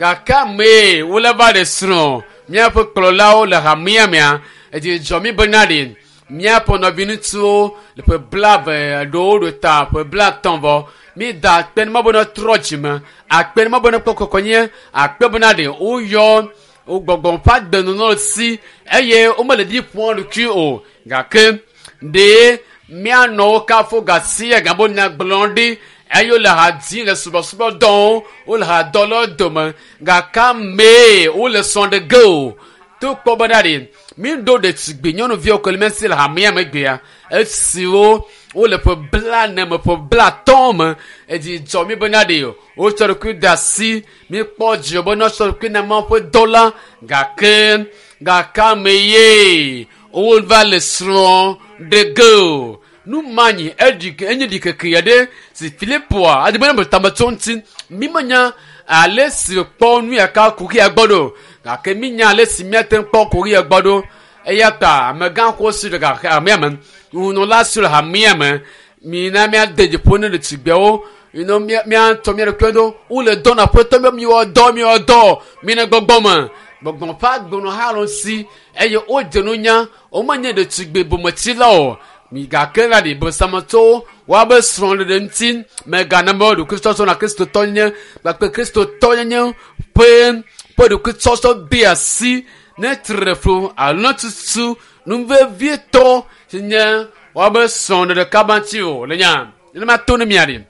Gake amee wole va ɖe srɔ̃ míaƒe kplɔlawo le hamea mea, edzi dzɔ mí bena ɖe míaƒe nɔviŋutsuwo le ƒe 20 ɖewo ɖo ta ƒe 50 vɔ. Mída akpe ne Mawu be ne trɔ dzime, akpe ne Mawu be ne kpɔ kɔkɔnye, akpe bena ɖe woyɔ wo gbɔgbɔ ƒe agbenɔnɔ si eye womele ɖi ƒom ɖokui o. Gake ɖe míanɔ wo kafu gasia gabo nya gblɔ ɖi eye wole ha dzim le subɔsubɔ dɔwo, wole ha dɔ le wo dome gake amee wole srɔ̃ ɖe ge o. To kpɔ bena ɖe míɖo ɖetugbi nyɔnuviwo ko le mía si le hamea megbea esiwo wole ƒe 40 me, ƒe 50 me. Edzi dzɔ mí bena ɖe wotsɔ ɖokui de asi. Míkpɔ dzidzɔ be wotsɔ ɖokui na Mawu ƒe dɔ la gake gake ame ye wova le srɔ̃ ɖe ge o. Nu ma nyi eɖi enye ɖikeke aɖe si Filipoa adi be ne tame tso ŋuti. Mi menya ale si kpɔ nu ya ka kuxia gbɔ ɖo gake mi nya ale si míate ŋu kpɔ kuxia gbɔ ɖo. Eya ta amegãxoxo si le hamea me, nunɔla si le hamea me, mina míade dzi ƒo ne ɖetugbiawo ino míatɔ mía ɖokuiwo ɖo. Wole dɔ na aƒetɔ be miwɔ dɔ, miwɔ dɔ, mina gbɔgbɔ me. Gbɔgbɔ ƒe agbenɔ hã le si eye wodze nunya. Womenye ɖetugbi bometsila o. Mi gake la ɖi bosametɔwo woabe srɔ̃ɖeɖe ŋuti megana be ɖokuitsɔtsɔ na kristotɔnyenye kpakple kristotɔnyenye ƒe ƒe ɖokuitsɔtsɔ de asi ne tre flu alo ne tutu nu vevietɔ si nye woabe srɔ̃ɖeɖe kaba ŋuti o. Le nya nenema to ne mia ɖi.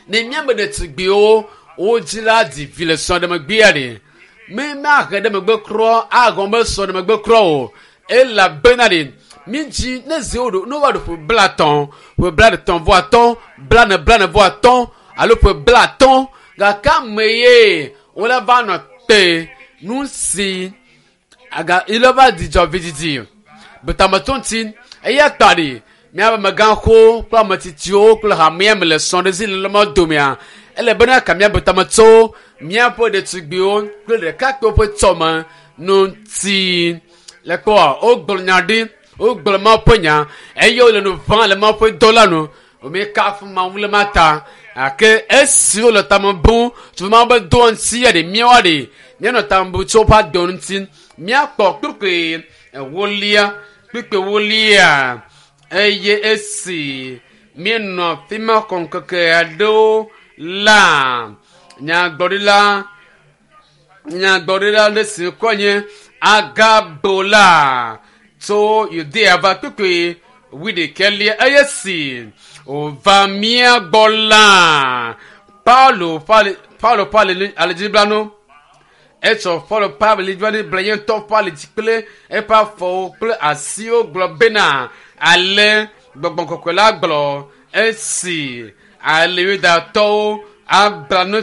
Ne míabe ɖetugbiwo wo dzi la dzi vi le srɔ̃ɖemegbea ɖi. Mi mahe ɖe megbe krɔ agɔn be srɔ̃ɖemegbe krɔ o. Elabena ɖi mi dzi ne zi wo ɖo ne woava ɖo ƒe 50, ƒe 35, 40, 40 alo ƒe 50 gake ame ye wole va nɔ te nu si aga ile va dzidzɔ vidzidzi betametɔ ŋuti. Eya ta ɖi míaƒe amegãxowo kple ametsitsiwo kple hamea me le srɔ̃ɖedzi le lɔmɔ domea ele bena ka míaƒe tametɔwo míaƒe ɖetugbiwo kple ɖekakpuiwo ƒe tsɔme ŋuti. Le kpɔa wogblɔ nya ɖi, wogblɔ Mawu ƒe nya eye wole nu ʋãm le Mawu ƒe dɔ la nu. Míekafu Mawu le ma ta gake esi wole tame bum tso Mawu ƒe dɔa ŋuti ya ɖe míawoa ɖe míanɔ tame bum tso woƒe agbe ŋuti. Míakpɔ kpukpui ewolia, kpukpui ewolia eye esi míenɔ afi ma xɔ ŋkeke aɖewo la, nyagblɔɖila nyagblɔɖila ɖe si ŋkɔe nye Agabo la tso Yudea va kpukpui wuiɖekɛlia eye si wòva mía gbɔ la, Paulo ƒe Paulo ƒe alidziblanu etsɔ Paulo ƒe alidziblanu bla ye ŋutɔ ƒe alidzi kple eƒe afɔwo kple asiwo gblɔ bena ale gbɔgbɔ kɔkɔe la gblɔ esi ale Yudatɔwo abla nu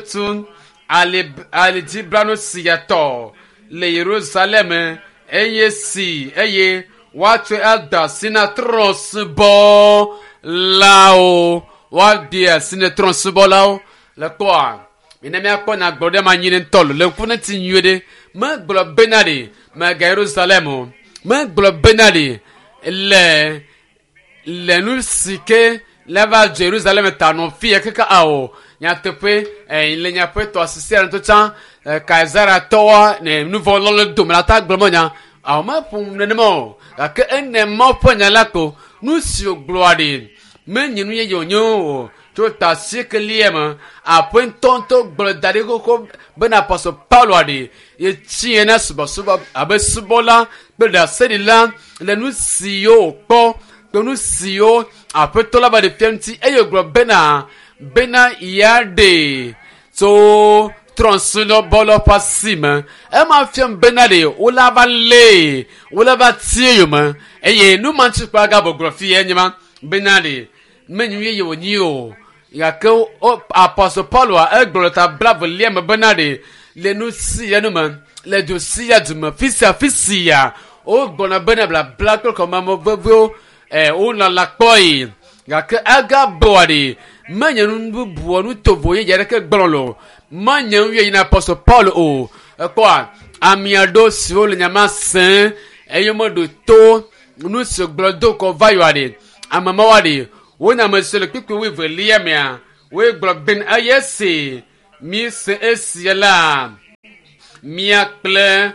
ali alidziblanu sia tɔ le Yerusalem eye si eye woatsɔe ade asi na trɔ̃subɔlawo. Woade asi na trɔ̃subɔlawo. Le kpɔa, mina míakpɔ nyagblɔɖi ma nyuie ŋutɔ le ŋku ne ti nyuie ɖe. Megblɔ bena ɖe mega Yerusalem o. Megblɔ bena ɖe le le nu si ke le va dzo Yerusalem ta nɔ fia keke awo. Nyateƒe le nyaƒe tɔ asisi aɖe ŋutɔ tsã Kaesaratɔwoa ne nu vɔ lɔ le dome la ta gblɔ nya awo meƒo nenema o. Gake ene Mawu ƒe nya la ko nu si wògblɔa ɖi menye nu yeye wònye o. Tso ta asiekelia me aƒe ŋutɔŋutɔ gblɔ da ɖi xoxo bena Apɔstɔ Paulo ɖi yetsi na subɔsubɔ abe subɔla kple ɖaseɖila le nu siwo wòkpɔ kple nu siwo aƒetɔ la va ɖe fia ŋuti eye wògblɔ bena bena yeaɖe tso trɔ̃subɔlawo ƒe asi me. Ema fiam bena ɖe wole va lée, wole va tie yome eye nu ma ŋuti kpɔ agabo gblɔ fia nye ma bena ɖe menye nu yeye wònyi o. Gake Apɔstɔ Pauloa egblɔ le ta blaevelia me bena ɖe le nu sia nu me, le du sia du me, fi sia fi sia wogblɔna bena blabla kple kɔmame veviwo wonɔ la kpɔe. Gake agaboa ɖe menye nu bubu nu tovo yeye aɖeke gblɔ le o. Menye nu yeye na Apɔstɔ Paulo o. Ekpɔa ame aɖewo siwo le nya ma sem eye womeɖo to nu si wògblɔ do kɔ va yɔa ɖe ame mawoa ɖe wonye ame siwo le kpukpui wuievelia mea woe gblɔ bena eye esi míese esia la Mía kple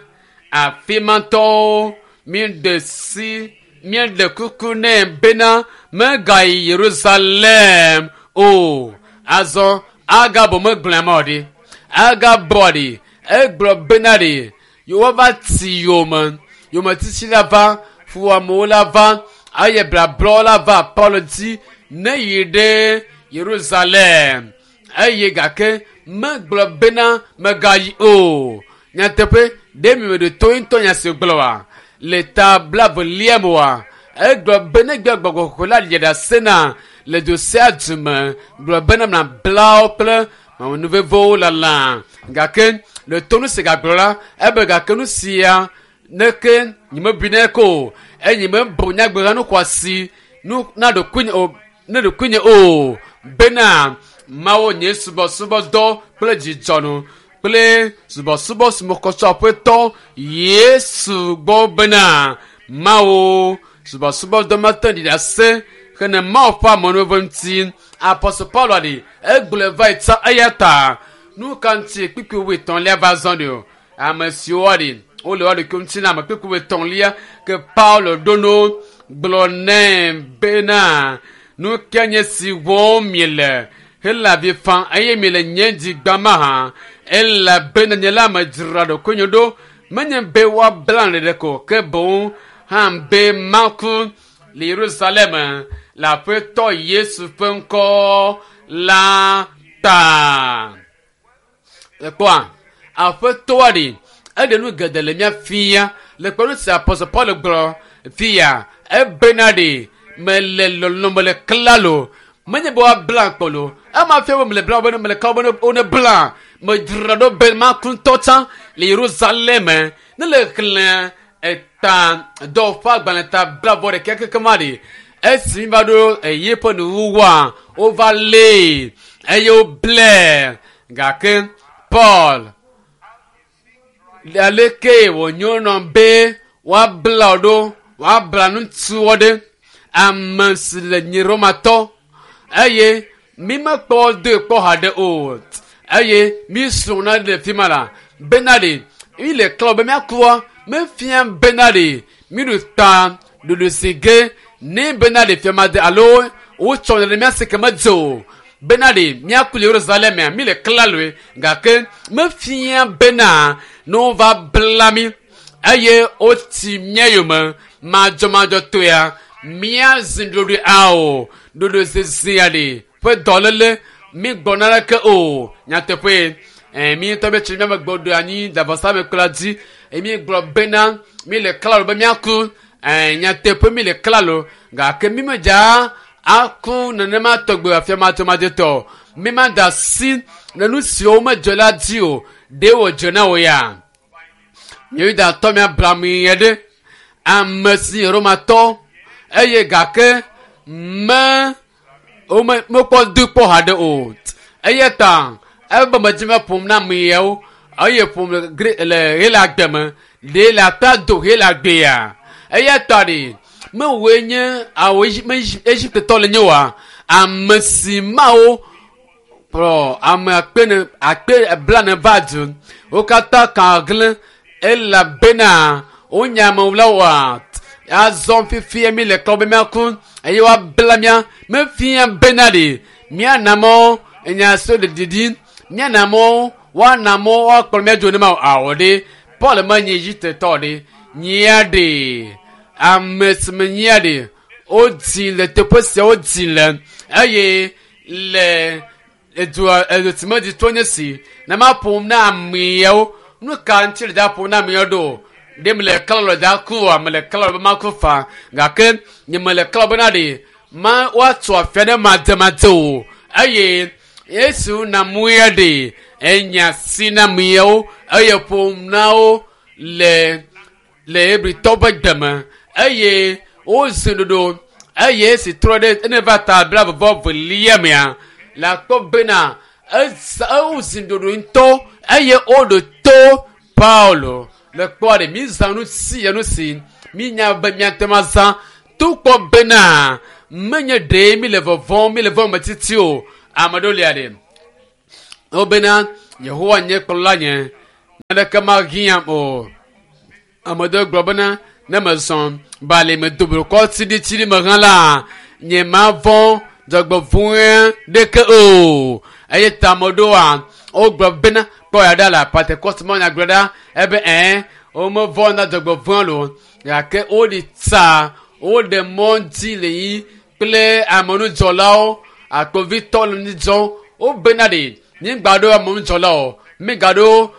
afimatɔwo míeɖe si míeɖe kuku nɛ bena megayi Yerusalem o. Azɔ Agabo megblɔe ma o ɖi. Agabo ɖi egblɔ bena ɖi yewoava ti yome yometiti la va fuamewo la va eye blablɔwo la va Paulo dzi ne yi ɖe Yerusalem eye gake megblɔ bena megayi o. Nyateƒe ɖe mi meɖo to ŋutɔ nya si gblɔ wa le ta blavelia me wa egblɔ be ne gbe gbɔgbɔ kɔkɔe la ɖe ɖase na le du sia du me gblɔ bena mablawo kple nuvevewo lalã gake le to nu si gagblɔ la ebe gake nu sia neke nyemebui nɛ ko o eye nyemebu nyagbe nu xɔasi nu na ɖokuinye o ne ɖokuinye o bena mawo nye subɔsubɔdɔ kple dzidzɔnu kple subɔsubɔ sumɔkɔsɔ aƒetɔ Yesu gbɔ bena mawo subɔsubɔdɔ mate ɖi ɖase hene mawo ƒe amenuveve ŋuti. Apɔstol Paulo ɖi egblɔe va yi tsã eya ta nu ka ŋuti kpukpui wuietɔ̃lia va zɔ ɖi o ame siwo ɖi wole woa ɖokuiwo ŋuti na ame kpukpui wuietɔ̃lia ke Paulo ɖo no gblɔ nɛ bena nu ke nye si wɔm miele hele avi fam eye miele nye dzi gbam hã elabena nye la medzra ɖokuinye ɖo menye be woabla ɖeɖe ko ke boŋ hã be maku le Yerusalem le aƒetɔ Yesu ƒe ŋkɔ la ta. Ekpɔa aƒetɔa ɖi eɖe nu geɖe le mía fia le kpɔɖeŋu si apɔstol Paul gblɔ fia ebena ɖi mele lɔlɔ mele klalo menye be woabla kpɔlo ema fia be mele bla be mele klalo be wone bla medzra ɖo be maku ŋutɔ tsã le Yerusalem ne le xlẽ eta dɔwɔƒe agbalẽ ta blavɔ ɖeka keke ma ɖi esi mi va ɖo eye ƒe nuwuwua wova lée eye woblɛ gake Paul aleke wònyo nɔ be woabla wo ɖo woabla ŋutsuwo ɖe ame si le nyi Romatɔ eye mi mekpɔ doe kpɔ haɖe o eye mi srɔ̃ na le fi ma la bena ɖe mi le klɔ be míakua mefia bena ɖe mi ɖu ta ɖoɖo si ge ne bena ɖe fia ma de alo wotsɔ ɖe mía si ke medze o bena ɖe míaku le Yerusalem mi le klaloe gake mefia bena ne wova bla mi eye woti mía yome madzɔmadzɔtɔea míazi ɖoɖoe ao ɖoɖoe zizia ɖe ƒe dɔléle mi gbɔ naneke o nyateƒe mi ŋutɔ mi tsi míame gbɔ ɖo anyi davɔsamekplɔa dzi eye mi gblɔ bena mi le klalo be míaku nyateƒe mi le klalo gake mi medza aku nenema tɔgbe afia madzɔmadzɔtɔ mi ma da asi le nu siwo medzɔ la dzi o ɖe wòdzɔ na wò ya Yudatɔ mi Abraham ye ɖe ame si Romatɔ eye gake me wome mekpɔ do kpɔ haɖe o eya ta ebe medzi me ƒom na ame yawo eye ƒom le gre le Hela gbe me ɖe le aƒea do Hela gbea eya ta ɖe mewɔe nye awo Egiptetɔ le nye wa ame si mawo kplɔ ame akpe ne akpe blane va du wo katã ka hlẽ elabena wonya amewulawoa azɔ fifia mi le klɔ be míaku eye woabla mía mefia bena ɖe míana mɔ enya so le didi míana mɔ woana mɔ woakplɔ mía dzo ne ma awɔ ɖe Paul menye Egiptetɔ ɖe nyia ɖe ame si menyia ɖe wodzi le teƒe sia wodzi le eye le edua edu si medzi to nye si ne ma ƒom na ameawo nu ka ŋuti le da ƒom na ameawo ɖo ɖe mele klalo da ku mele klalo be maku fa gake nye mele klalo bena ɖe ma woatso afia ɖe mademade o eye Yesu na mue ɖe enya si na ameawo eye ƒom na wo le le Hebritɔwo ƒe gbe eye wozi ɖoɖo eye esi trɔ ɖe ene va ta blavevɔ velia mea le akpɔ bena eza ewozi ɖoɖo ŋutɔ eye woɖo to Paulo le kpɔ ɖe mi zã nu si ya nu si mi nya be miate ŋu azã to kpɔ bena menye ɖe mi le vɔvɔm mi le vɔm metiti o ame ɖewo lia ɖe wobena Yehowa nye kplɔla nye. Naneke mahiãm o. Ame ɖewo gblɔ bena ne mezɔ bali me doblukɔ tsiɖitsiɖi me hã la, nye mavɔ̃ dzɔgbevɔ̃e ɖeke o. Eye ta ame ɖewoa, wogblɔ bena kpɔ ya ɖa le Pentecost mɔ nyagblɔ ɖa ebe ɛ̃ womevɔ̃ na dzɔgbevɔ̃e lo gake woɖi tsa woɖe mɔ dzi le yi kple amenudzɔlawo akpovitɔ le nu dzɔm wobena ɖe mígba ɖo amenudzɔlawo mígaɖo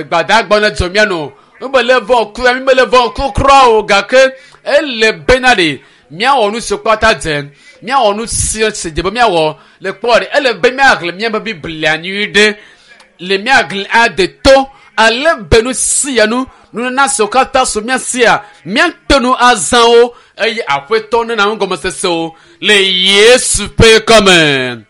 gbadagbɔ ne dzɔ mía no wobele vɔ kura míbele vɔ kura o gake ele bena ɖe míawɔ nu siwo kpata dze míawɔ nu si si dze be míawɔ le kpɔ ɖe ele be míaxlẽ míaƒe biblia nyui ɖe le míaxlẽ ade to ale be nu sia nu nunana siwo katã so mía sia míate nu azã wo eye aƒetɔ nena nugɔmesese wo le Yesu ƒe kɔme.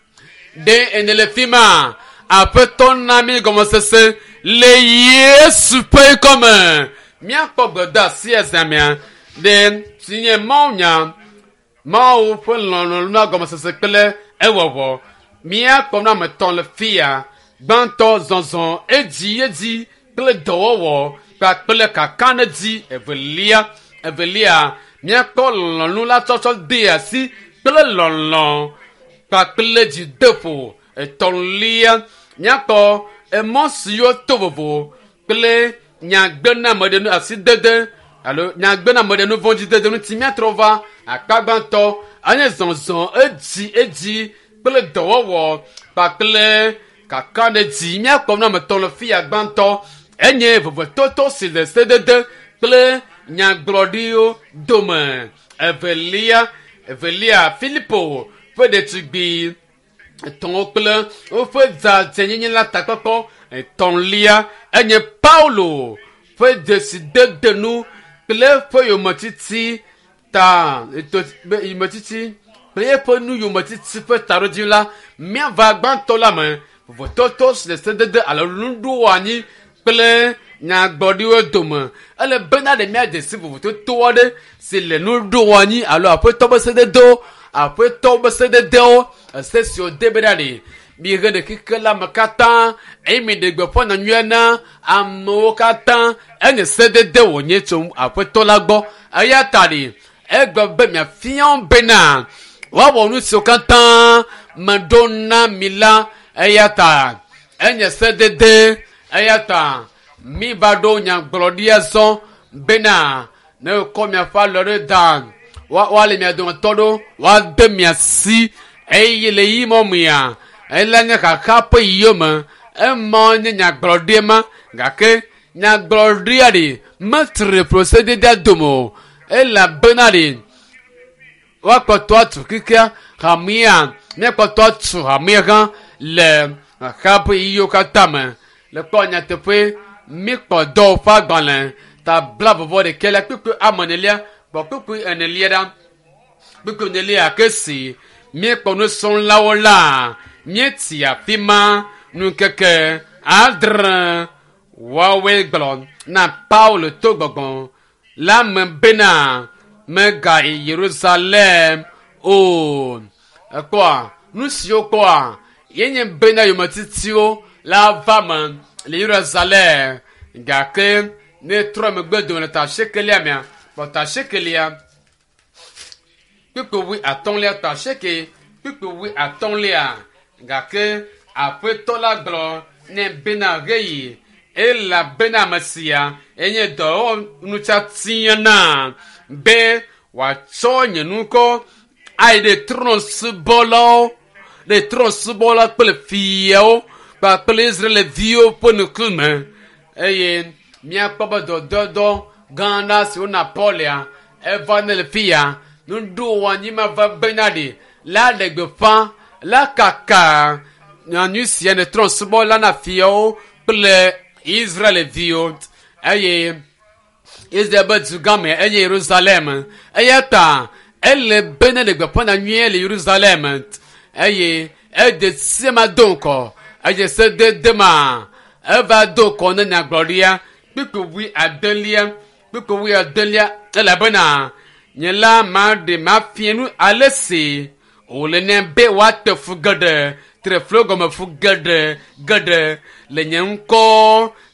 Ɖe ene le fi ma aƒetɔ na mí gɔmesese le Yesu ƒe kɔme. Míakpɔ gbedeasi ezãmea ɖe si nye Mawunya Mawu ƒe lɔlɔ̃nu na gɔmesese kple ewɔwɔ. Míakpɔ nu ame etɔ̃ le fia. Gbãtɔ zɔzɔ edzi edzi kple dɔwɔwɔ kpakple kakaɖedzi. Evelia evelia míakpɔ lɔlɔ̃nu la tsɔtsɔ de asi kple lɔlɔ̃ kpakple dzideƒo. Etɔ̃lia míakpɔ emɔ siwo to vovo kple nyagbenameɖenu asidede alo nyagbenameɖenu vɔ̃dzidede ŋuti míatrɔ va akpa gbãtɔ anye zɔzɔ edzi edzi kple dɔwɔwɔ kpakple kakaɖedzi. Míakpɔ nu ame etɔ̃ le fia gbãtɔ enye vovototo si le sedede kple nyagblɔɖiwo dome. Evelia evelia Filipo ƒe ɖetugbi etɔ̃wo kple woƒe dzadzɛnyenye la takpɔkpɔ. Etɔ̃lia enye Paulo ƒe dzesidedenu kple eƒe yometiti ta eto be yometiti kple eƒe nu yometiti ƒe taɖodzinu la míava gbãtɔ la me vovototo si le sedede alo nuɖoanyi kple nyagblɔɖiwo dome. Ele bena ɖe míadze si vovototo aɖe si le nuɖoanyi alo aƒetɔ ƒe sededewo aƒetɔ ƒe sededewo ese siwo de bena ɖe mihe ɖe xexe la me katã eye miɖe gbeƒã nyanyuia na amewo katã enye sedede wònye tso aƒetɔ la gbɔ eya ta ɖe egblɔ be miafia wo bena woawɔ nu siwo katã meɖo na mi la eya ta enye sedede eya ta mi va ɖo nyagblɔɖia zɔ bena ne wokɔ miaƒe alɔ ɖe da woale mia dometɔ ɖo woade mia si eye le yi mɔ mea ele nye xaxa ƒe yiwo me ema nye nyagblɔɖia ma gake nyagblɔɖia ɖe metre ƒo dome o elabena ɖe woakpɔtɔ atu kikea hamea míakpɔtɔ atu hamea hã le xaxa ƒe yiwo katã me le kpɔ nyateƒe míkpɔ dɔwɔƒe ƒe agbalẽ ta bla vɔvɔ ɖekɛ la kpukpui ame enelia gbɔ kpukpui enelia ɖa kpukpui enelia ke si míekpɔ nusrɔ̃lawo la míetsi afi ma ŋkeke adre woawoe gblɔ na Paulo to gbɔgbɔ la me bena megayi Yerusalem o. Ekpɔa nu siwo kpɔa yenye bena yometitiwo la va me le Yerusalem gake ne trɔ megbe dome le ta asiekelia mea kpɔ ta asiekelia kpukpui wui atɔ̃lia ta asieke kpukpui wui atɔ̃lia gake aƒetɔ la gblɔ ne bena ɣeyi elabena ame sia enye dɔwɔnutsatia na be wòatsɔ nye ŋkɔ ayi ɖe trɔ̃subɔlawo ɖe trɔ̃subɔla kple fiawo kpakple Israelviwo ƒe ŋkume eye míakpɔ be dɔdɔdɔ gã aɖe si wona Paulia eva ne le fi ya nuɖoanyi ma va bena ɖe la ɖe gbeƒã la kaka nyanyui sia ne trɔ̃subɔla na fiawo kple Israelviwo eye Israel be dugã me enye Yerusalem eya ta ele be ne ɖe gbeƒã nyanyuie le Yerusalem eye ede se ma do ŋgɔ eye sedede ma eva do ŋgɔ ne nyagblɔɖia kpukpui wui adelia kpukpui wui adelia elabena nye la maɖe mafia nu ale si wòle nɛ be woate fu geɖe Tre flu gɔme fu geɖe geɖe le nye ŋkɔ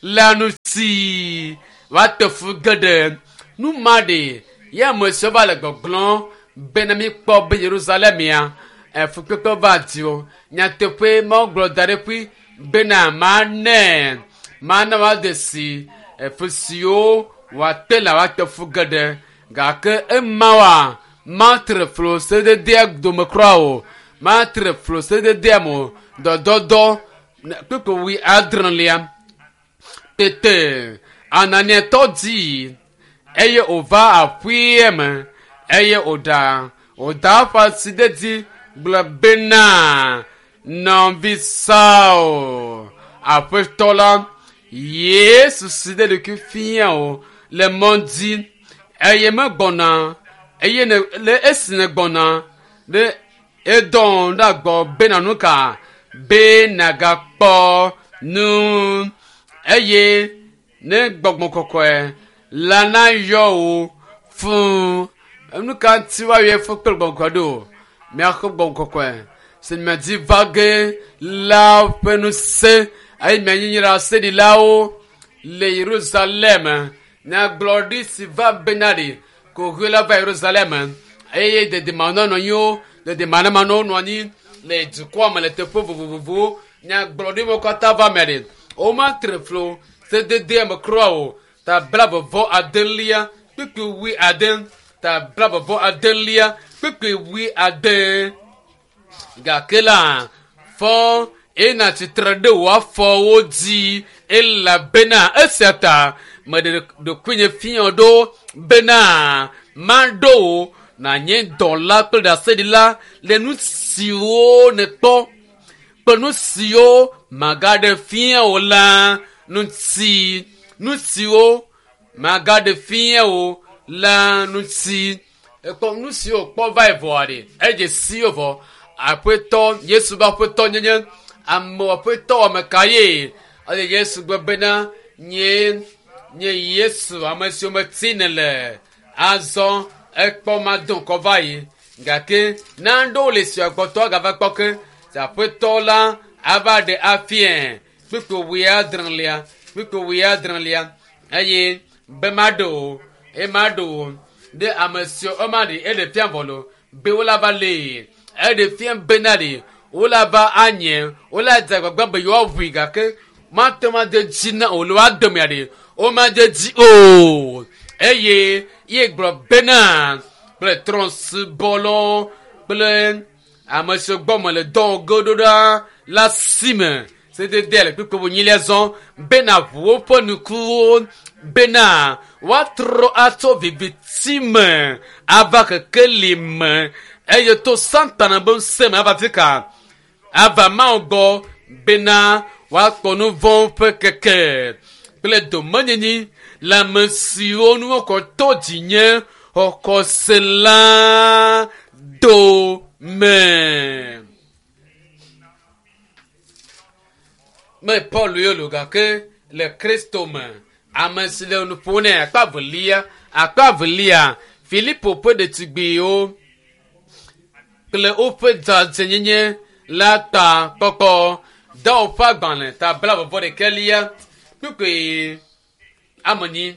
la ŋuti. Woate fu geɖe. Nu ma ɖe ye ame siwo va le gbɔgblɔm bena míkpɔ be Yerusalem ya efukpekpe va di o. Nyateƒe Mawu gblɔ da ɖe ƒui bena mana mana woade si efu siwo wòate la woate fu geɖe gake ema wa matre flo sededea dome kura o matre flo sededea me o dɔdɔdɔ kpekpe wui adrelia tete Ananiatɔ di eye wòva aƒea me eye wòɖa wòda eƒe asi ɖe edzi gblɔ bena nɔvi Saul aƒetɔ la Yesu si ɖe ɖokui fia o le mɔ dzi eye megbɔna eye ne le esi nègbɔna ɖe edɔ ɖe agbɔ bena nu ka be nagakpɔ nu eye ne gbɔgbɔ kɔkɔe la nayɔ wò fũ nu ka ŋuti woayɔe fũ kple gbɔgbɔ kɔkɔe ɖo miaxɔ gbɔgbɔ kɔkɔe si miadi va ge la ƒe ŋusẽ eye mianye nye ɖaseɖilawo le Yerusalem nyagblɔɖi si va bena ɖi kohoe la va Yerusalem eye dedemanɔnɔnyiwo dedemanɔmanɔwo nɔ anyi le dukɔa me le teƒe vovovowo nyagblɔɖi katã va me ɖi womatre flo sededea me kura o ta blaeve vɔ adelia kpukpui wui ade ta blaeve vɔ adelia kpukpui wui ade gake la fɔ ena tsitre ɖe wò afɔwo dzi elabena esia ta meɖe ɖokuinye fia ɖo bena maɖo wò nànye dɔla kple ɖaseɖila le nu siwo nèkpɔ kple nu siwo magaɖe fia wò la ŋuti nu siwo magaɖe fia wò la ŋuti ekpɔ nu siwo kpɔ va yi vɔa ɖe edze si wo vɔ aƒetɔ Yesu be aƒetɔ nyenye ame aƒetɔ ame ka ye eye Yesu gblɔ bena nye nye Yesu ame siwo meti ne le azɔ ekpɔ ma do ŋkɔ va yi gake naɖewo le sia gbɔtɔ agava kpɔ ke si aƒetɔ la ava ɖe afia kpukpui wuiadrelia kpukpui wuiadrelia eye be maɖe o eye maɖe o ɖe ame siwo ema ɖe eɖe fia vɔ lo be wola va lee eɖe fia bena ɖe wola va anye wola dze agbagba be yewoaʋui gake mate ŋu ade dzi na o le woade mea ɖe womade dzi o eye ye gblɔ bena kple trɔ̃subɔlawo kple ame siwo gbɔ mele dɔ ge ɖo ɖa la si me sedede le kpukpui enyilia zɔ bena ʋu woƒe nukuwo bena woatrɔ atso viviti me ava kekeli me eye to Satana be ŋusẽ me ava fi ka ava Mawu gbɔ bena woakpɔ nu vɔ̃ ƒe keke kple domenyinyi le ame siwo nu wokɔ to dzinye xɔxɔse la dome. Me Paul ye lo gake le Kristo me ame si le nu ƒom nɛ akpa velia akpa velia Filipo ƒe ɖetugbiwo kple woƒe dzadzɛnyenye la ta kpɔkpɔ dɔwɔƒe ƒe agbalẽ ta blaeve vɔ ɖekɛlia kpukpui amenyi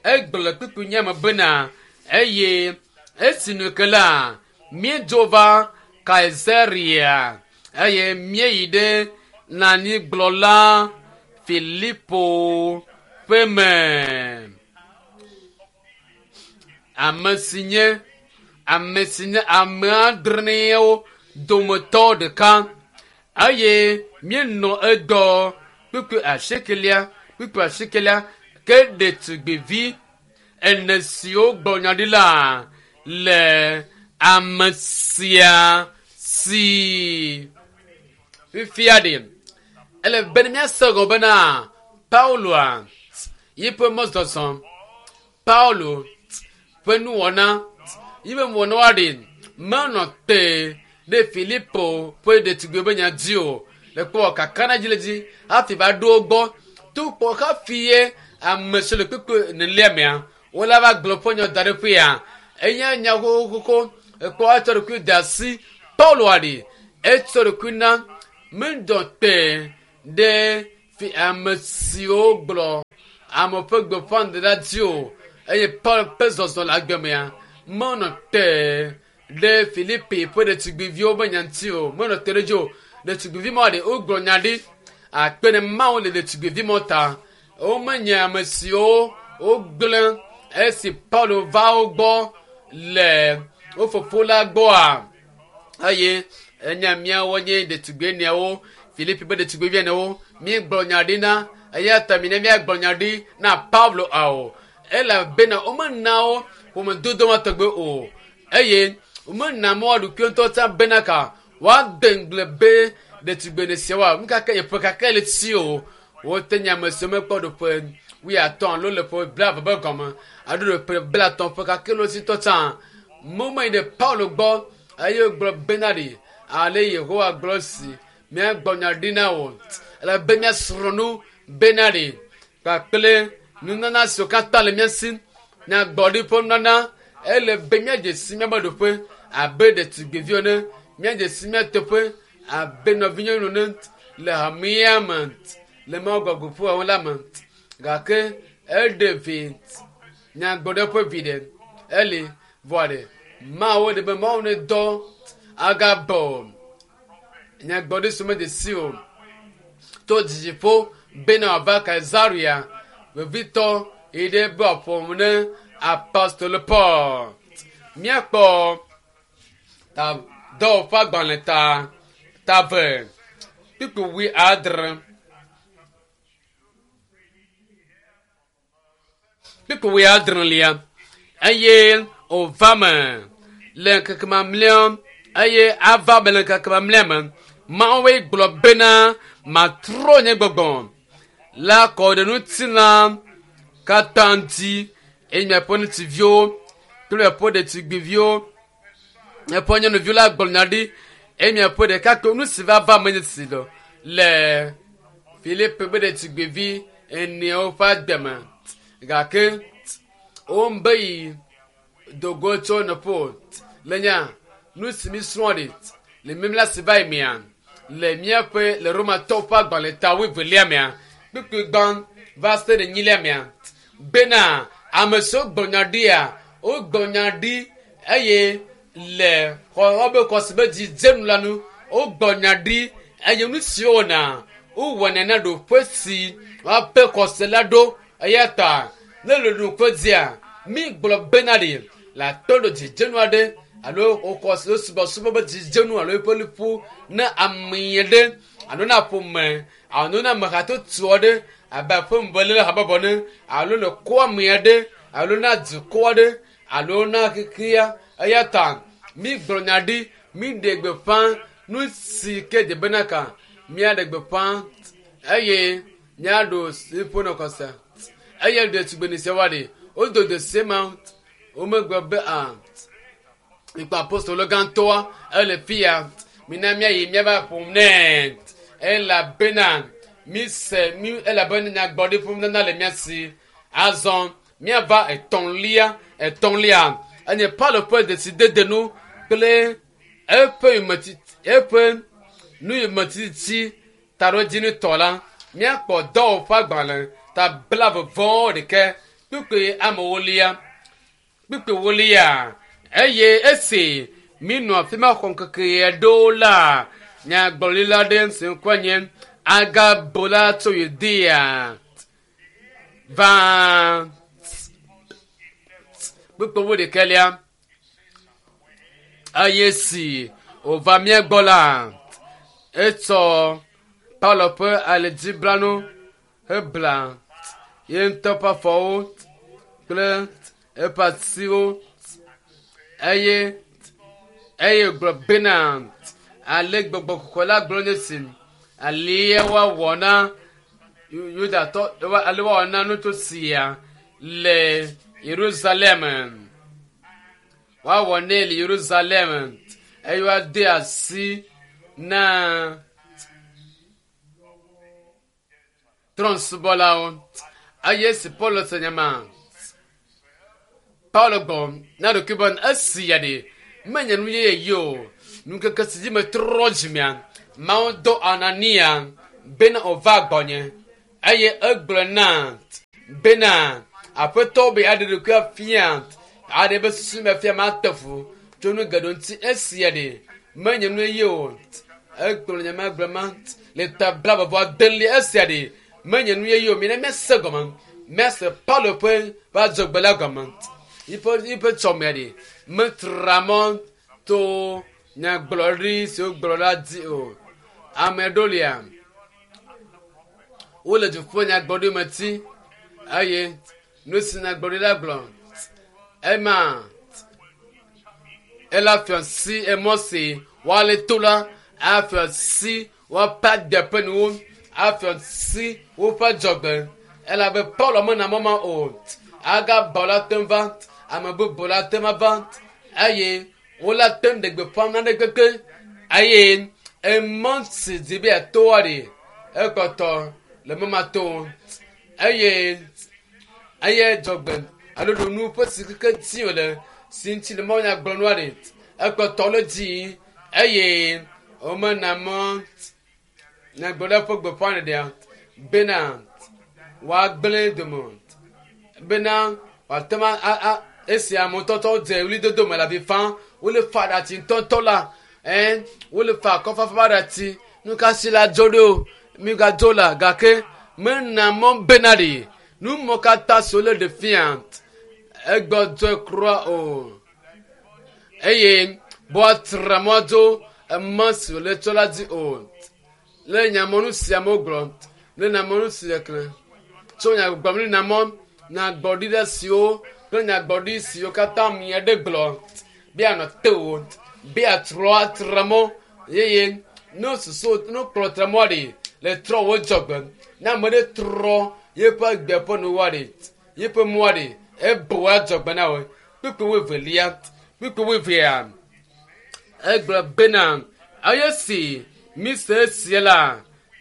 egblɔ kpukpui nye me bena eye esi nu ke la míedzo va Kaisarea eye míeyi ɖe nanyigblɔla Filipo ƒe me ame si nye ame si nye ame adreawo dometɔ ɖeka eye míenɔ edɔ kpukpui asiekelia kpukpui asiekelia ke ɖetugbivi ene siwo gblɔ nya ɖi la le ame sia si fifia ɖi ele be ne míase gɔme bena Pauloa yiƒe mɔzɔzɔ Paulo ƒe nuwɔna yiƒe nuwɔna wa ɖi menɔ te ɖe Filipo ƒe ɖetugbiwo be nya dzi o le kpɔ kakaɖedzi le dzi hafi va ɖo wo gbɔ to kpɔ hafi ye ame si le kpekpe nelia mea wola va gblɔ ƒe nya da ɖe ƒea enye nya xoxoxo ekpɔ etsɔ ɖokui de asi Paulo aɖi Etsɔ ɖokui na medɔ te ɖe fi ame siwo gblɔ ame ƒe gbeƒãɖeɖe dzi o eye Paul ƒe zɔzɔ le agbe mea menɔ te ɖe Filipi ƒe ɖetugbiviwo ƒe nya ŋuti o menɔ te ɖe edzi o. Ɖetugbivi ma ɖe wogblɔ nya ɖi akpe ɖe Mawu le ɖetugbivi ma ta. Womenye ame siwo wogblẽ esi Paulo va wo gbɔ le wo fofo la gbɔa eye enya míawo nye ɖetugbi eneawo Filipi ƒe ɖetugbivi enewo míegblɔ nya ɖi na eya ta mi ne míagblɔ nya ɖi na Paulo ao elabena womena wo ƒomedodo ma tɔgbe o eye womena mɔ ɖokuiwo ŋutɔ tsã bena ka woade ŋugble be ɖetugbi ene siawoa nu kake ƒe kake le tsi o wote nye ame siwo mekpɔ ɖoƒe wuiatɔ̃ alo le ƒe blaeve be gɔme alo ɖoƒe blaetɔ̃ ƒe kake le wo ŋutɔ tsã momeyi ɖe Paulo gbɔ eye wogblɔ bena ɖi ale Yehowa gblɔ si míagbɔ nya ɖi na wò ele be míasrɔ̃ nu bena ɖi kpakple nunana siwo katã le mía si nyagbɔɖi ƒe nunana ele be míadze si míaƒe ɖoƒe abe ɖetugbiviwo ene míadze si mía teƒe abe nɔvinyɔnu ene le hamea me le Mawu gbɔgbɔ ƒe la me gake eɖe vi nyagbɔɖi ƒe vi ɖe eli vɔ ɖe Mawu ɖe be Mawu ne dɔ agabɔ nyagbɔɖi si medze si o to dzidziƒo bena wòava Kaesarea vevitɔ yi ɖe be wòaƒo ne apostolo Paul. Míakpɔ ta dɔwɔƒe agbalẽ ta tave kpukpui wuiadre. Kpukpui wuiadrelia eye wòva me le ŋkeke mamlɛa eye ava me le ŋkeke mamlɛa me Mawue gblɔ bena matrɔ nye gbɔgbɔ la kɔ ɖe ŋutilã katã dzi eye miaƒe ŋutsuviwo kple miaƒe ɖetugbiviwo miaƒe nyɔnuviwo la gblɔ nya ɖi eye miaƒe ɖekakpuiwo nu si va va menye si ɖo le Filipe ƒe ɖetugbivi eneawo ƒe agbe me gake wombe yi dogo tso nɔƒe le nya nu si mi srɔ̃ ɖi le mimla si va yi mea le míaƒe le Romatɔwo ƒe agbalẽ ta wuievelia mea kpukpui gbã va se ɖe enyilia mea bena ame siwo gblɔ nya ɖia wogblɔ nya ɖi eye le xɔ wobe xɔse be dzidzenu la nu wogblɔ nya ɖi eye nu siwo wɔna wowɔnɛ na ɖoƒe si woaƒe xɔse la ɖo eya ta ne le ɖoƒe dzia mi gblɔ bena ɖi le atɔ ɖo dzidzenu aɖe alo wokɔ subɔsubɔ be dzidzenu alo eƒe liƒo ne ame ɖe alo na ƒome alo na ame hatsotso aɖe abe aƒemebeléle habɔbɔ ne alo le kɔ ame aɖe alo na dukɔ aɖe alo na xexea eya ta mi gblɔ nya ɖi mi ɖe gbeƒã nu si ke dze bena ka míaɖe gbeƒã eye míaɖo liƒo nɔ kɔsa eye ɖetugbi ne sia woaɖe wodo de se ma womegblɔ be a ikpa apostolo gãtɔa ele fia mina míayi míava ƒom nɛ elabena mise mi elabena nyagbɔɖi ƒom nana le mía si azɔ míava etɔ̃lia etɔ̃lia enye Paulo ƒe dzesidede nu kple eƒe yometiti eƒe nuyometiti taɖodzinutɔ la míakpɔ dɔwɔƒe agbalẽ ta blaeve vɔ ɖekɛ kpukpui amewolia kpukpui wolia eye esi minɔ afi ma xɔ ŋkeke aɖewo la nyagblɔɖila ɖe si ŋkɔe nye Agabo la tso Yudea va kpukpui wuiɖekɛlia eye si wòva mía gbɔ la etsɔ Paulo ƒe alidziblanu hebla ye ŋutɔ ƒe afɔwo kple eƒe asiwo eye eye gblɔ bena ale gbɔgbɔ kɔkɔe la gblɔ nye si alie woawɔ na Yudatɔ ale woawɔ na nuto sia le Yerusalem woawɔ nɛ le Yerusalem eye woade asi na trɔ̃subɔlawo eye esi Paulo se nya ma Paulo gbɔ na ɖokui be esi ya ɖe menye nu yeye yi o. Nukeke si dzi metrɔ dzimea, Mawu do Anania bena wòva gbɔnye eye egblɔ na bena aƒetɔ be aɖe ɖokui afia aɖe be susu me fia mate fu tso nu geɖewo ŋuti esia ɖe menye nu ye o. Egblɔ nye ma gblɔ ma le ta blaeve adelia esia ɖe menye nu yeye o. Mina míase gɔme míase Paulo ƒe ƒe adzɔgbe la gɔme. Yiƒe yiƒe tsɔmea ɖe metra mɔ to nyagblɔɖi si wogblɔ la dzi o. Ame ɖewo lia wole dziƒo nyagblɔɖi me ti eye nu si nyagblɔɖi la gblɔ ema ela fia si emɔ si woale to la afia si woaƒe agbe ƒe nuwo afia si woƒe dzɔgbe elabe Paulo mena mɔ ma o. Agabɔ la te ŋu va ame bubu la te ŋu va eye wola te ŋu ɖe gbeƒã nane kpekpe eye emɔ si di be yeatoa ɖi ekpɔtɔ le mɔ ma to eye eye dzɔgbe alo ɖonu ƒe si keke dzi wòle si ŋuti le mawunya gblɔ nua ɖi ekpɔtɔ le dzi eye womena mɔ nyagblɔɖia ƒe gbeƒãɖeɖea bena woagblẽ dome o bena wòate ŋu a a esi amewo tɔtɔ dze ɣlidodo me le avi fam wole fa ɖatsi ŋutɔŋutɔ la ɛ wole fa akɔfafa ɖatsi nu ka si la dzo ɖo migadzo la gake mena mɔ bena ɖi nu mɔ katã si wole ɖe fia egbɔdzɔe kura o eye bɔatra mɔ dzo emɔ si wòle tsɔ la dzi o le nyamɔnu sia me gblɔ le nyamɔnu si le klẽ tso nyagbɔgblɔ ne namɔ nyagbɔɖi ɖe siwo kple nyagbɔɖi siwo katã mia ɖe gblɔ be anɔ te o be atrɔ atra mɔ eye ne susu ne kplɔ tra mɔ ɖi le trɔ wo dzɔgbe ne ame ɖe trɔ yeƒe gbe ƒe nuwoa ɖi yeƒe mɔa ɖi ebo adzɔgbe na wo kpukpui wuievelia kpukpui wuievea egblɔ bena eye si mise esia la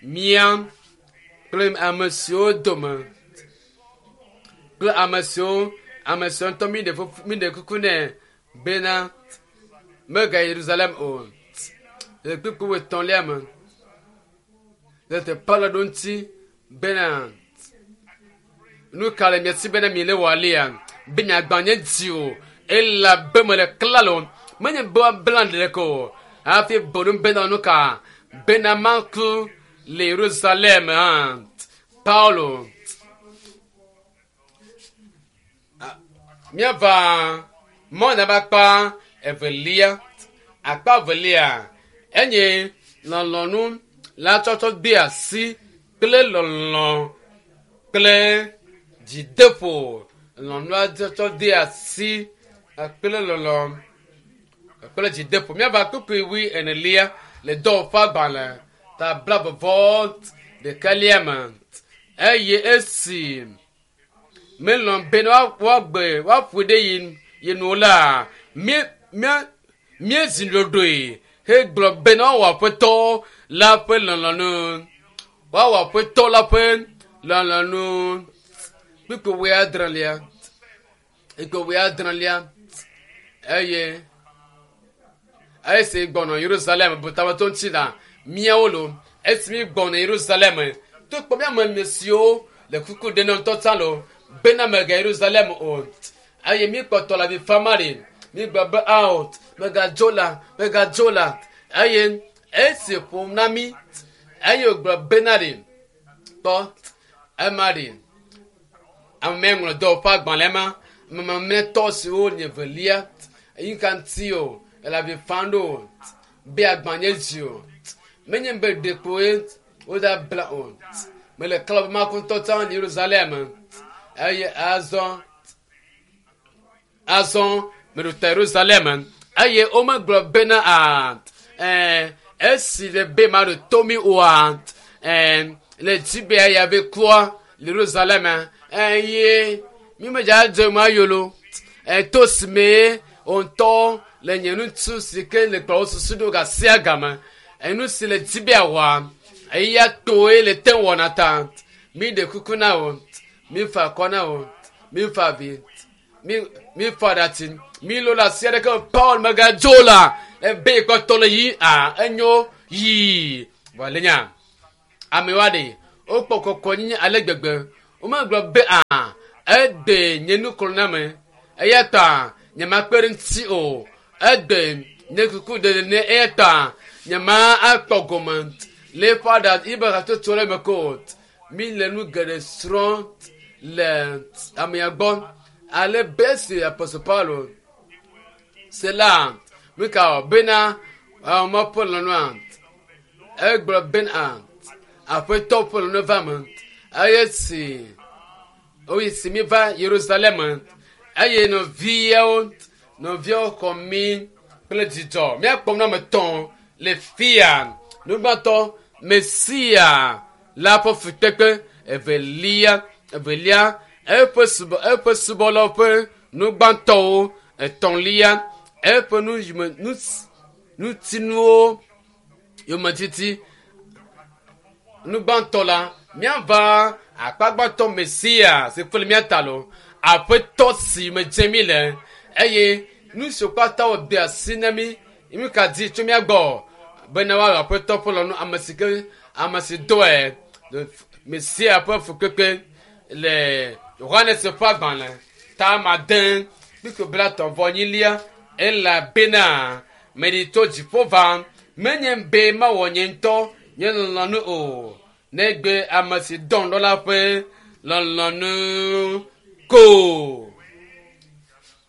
mía kple ame siwo dome kple ame siwo ame siwo ŋutɔ mi ɖe fufu mi ɖe kuku nɛ bena megayi Yerusalem o le kpukpui wuietɔ̃lia me tete Paulo ɖo ŋuti bena nu ka le mia si bena mi le wɔ alia be miagbã nye dzi o elabe mele klalo menye be woabla ɖeɖe o hafi bonu bena nu ka bena maku le Yerusalem hã Paulo míava mɔna akpa evelia akpa evelia enye lɔlɔ̃nu la tsɔtsɔ de asi kple lɔlɔ̃ kple dzideƒo lɔlɔ̃nu tsɔtsɔ de asi kple lɔlɔ̃ kple dzideƒo míava kpukpui wui enelia le dɔwɔƒe agbalẽ ta blaeve ɖekalia me eye esi melɔ̃ bena woagbe woaƒoe ɖe yi yi nu la mí mía míezi ɖoɖoe hegblɔ bena woawɔ aƒetɔ la ƒe lɔlɔ̃nu woawɔ aƒetɔ la ƒe lɔlɔ̃nu kpukpui wuiadrelia kpukpui wuiadrelia eye esi gbɔnɔ Yerusalem butametɔ ŋuti la míawo lo esi mi gbɔnɔ Yerusalem to kpɔ míame ame siwo le kuku ɖe na ŋutɔ tsã lo bena mega Yerusalem o eye mi kpɔtɔ le avi fam ɖi mi gblɔ be ao megadzo la megadzo la eye esi ƒom na mi eye wògblɔ bena ɖi kpɔ ema ɖi ame ŋlɔ dɔwɔƒe agbalẽ ma mamlɛtɔ siwo nye velia eyi ka ŋuti o ele avi fam ɖo o be agbã nye dzi o menye be ɖekpoe woda bla o mele klɔ be maku ŋutɔ tsã le Yerusalem eye azɔ azɔ meɖo ta Yerusalem eye womegblɔ bena a ɛɛ esi le be maɖo to mi oa ɛɛ le dzi be eya be kua le Yerusalem eye mi medza dze ma yolo ɛto si me ŋutɔ le nye ŋutsu si ke le kplɔ wo susu ɖo gasia game enu si le dzi be awɔa eya toe le te wɔna ta mi ɖe kuku na wo mi fa akɔ na wo mi fa avi mi mi fa ɖatsi mi lo le asi aɖeke Paul megadzo la Ebe yi kpɔtɔ le yi a enyo yi. Vɔ le nya amewoa ɖe wokpɔ kɔkɔnyenye ale gbegbe. Womegblɔ be a ede nye nuklɔname eya ta nyemakpe ɖe ŋuti o. Ede nye kuku ɖeɖe ne eya ta nyema akpɔ gome le eƒe aɖa yibe hatsotso le me ko. Mi le nu geɖe srɔ̃ le amea gbɔ ale be esi apostol Paulo se la nu ka wɔ bena ame ƒe lɔlɔ̃a egblɔ bena aƒetɔ ƒe lɔlɔ̃ va me eye si woyi si mi va Yerusalem eye nɔviawo nɔviawo xɔ mi kple dzidzɔ míakpɔ nu ame tɔ̃ le fia nugbãtɔ Mesia la ƒe fukpekpe evelia evelia eƒe subɔ eƒe subɔlawo ƒe nugbãtɔwo etɔ̃lia eƒe nu yime nu nutinuwo yometiti nugbãtɔ la míava akpa gbãtɔ Mesia si kple mía ta lo aƒetɔ si me dze mí le eye nu siwo katã wòde asi na mí nu ka di tso mía gbɔ bena woawɔ aƒetɔ ƒe lɔlɔ̃nu ame si ke ame si dɔe Mesia ƒe fukpekpe le Yohanes ƒe agbalẽ ta ade kpukpui blatɔ̃ vɔ enyilia elabena meɖi tso dziƒo va menye be mawɔ nye ŋutɔ nye lɔlɔ̃nu o negbe ame si dɔm ɖo la ƒe lɔlɔ̃nu ko.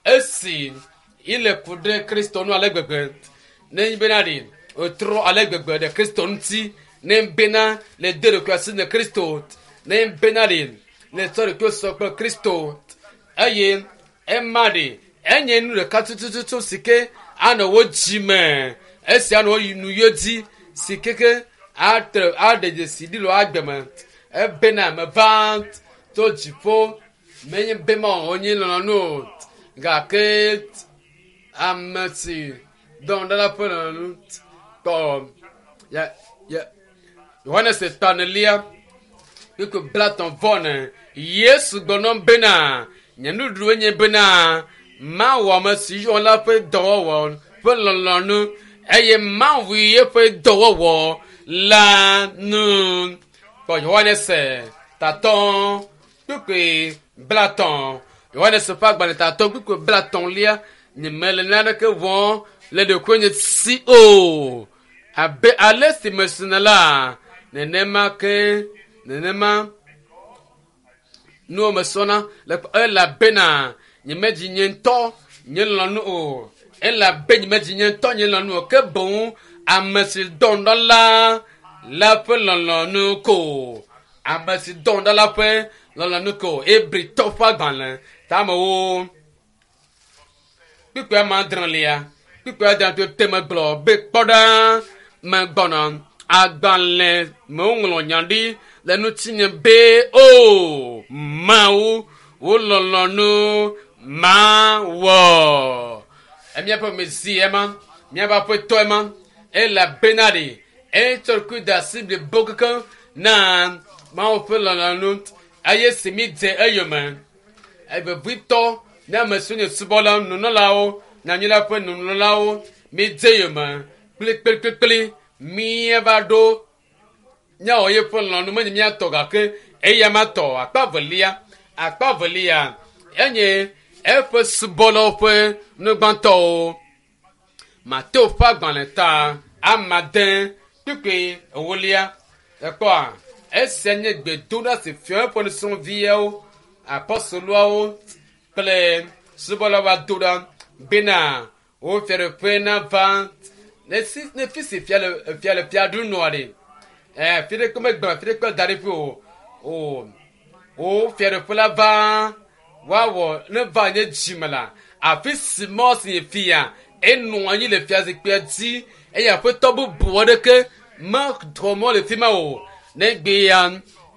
Esi ile ku ɖe Kristo nu ale gbegbe ne bena ɖi wòtrɔ ale gbegbe ɖe Kristo ŋuti ne bena le de ɖokui asi ne Kristo ne bena ɖi le tsɔ ɖokui sɔ kple Kristo eye ema ɖi enye nu ɖeka tututu si ke anɔ wo dzime esi anɔ wo nu yɔ dzi si keke atre aɖe dzesi ɖi le wo agbe me ebena meva tso dziƒo menye be mawɔ nye lɔlɔ̃nu o gake ame si dɔm ɖe la ƒe lɔlɔ̃nu tɔ ya ya Yohanes ta enelia kpukpui blatɔ̃ vɔ ene Yesu gblɔ nam bena nye nuɖuɖue nye bena mawɔ ame si yɔ la ƒe dɔwɔwɔ ƒe lɔlɔ̃nu eye mawu eƒe dɔwɔwɔ la nu. Kpɔ Yohanes tatɔ kpukpui blatɔ̃ Yohanes ƒe agbalẽ tatɔ kpukpui blatɔ̃lia nyemele naneke wɔm le ɖokuinye si o abe ale si mesina la nenema ke nenema nuwo mesɔna le elabena nyemedzi nye ŋutɔ nye lɔlɔ̃nu o elabe nyemedzi nye ŋutɔ nye lɔlɔ̃nu o ke boŋ ame si dɔm ɖa la la ƒe lɔlɔ̃nu ko ame si dɔm ɖa la ƒe lɔlɔ̃nu ko Hebritɔ ƒe agbalẽ tamewo kpukpui ame adrelia kpukpui adre to megblɔ be kpɔ ɖa megbɔna agbalẽ me woŋlɔ nya ɖi le ŋutinye be o Mawu wò lɔlɔ̃nu mawɔ. Míaƒe Mesia ema, míaƒe aƒetɔ ema, elabena ɖe etsɔ ɖokui de asi blibo kekeŋ na Mawu ƒe lɔlɔ̃nu eye si mi dze eyome. Evevitɔ ne ame siwo nye subɔla nunɔlawo, nyanyui la ƒe nunɔlawo, mi dze eyome kplikplikplikpli míeva ɖo míawɔ yeƒe lɔlɔ̃nu menye míatɔ gake eya ma tɔ akpa velia akpa velia enye eƒe subɔlawo ƒe nugbãtɔwo. Mateo ƒe agbalẽ ta ame ade kpukpui ewolia ekpɔa esia nye gbedoɖa si fia eƒe nusrɔ̃viawo apɔstoloawo kple subɔlawo ado ɖa bena wo fiaɖuƒe nava ne si ne fi si fia le fia le fia ɖum nɔa ɖe ɛ fi ɖeke megblɔ fi ɖeke da ɖi ƒe o o wo fiaɖuƒe la va woawɔ ne va nye dzime la afi si mɔ si nye fia enɔ anyi le fiazikpuia dzi eye aƒetɔ bubu aɖeke mexɔ mɔ le fi ma o negbe ya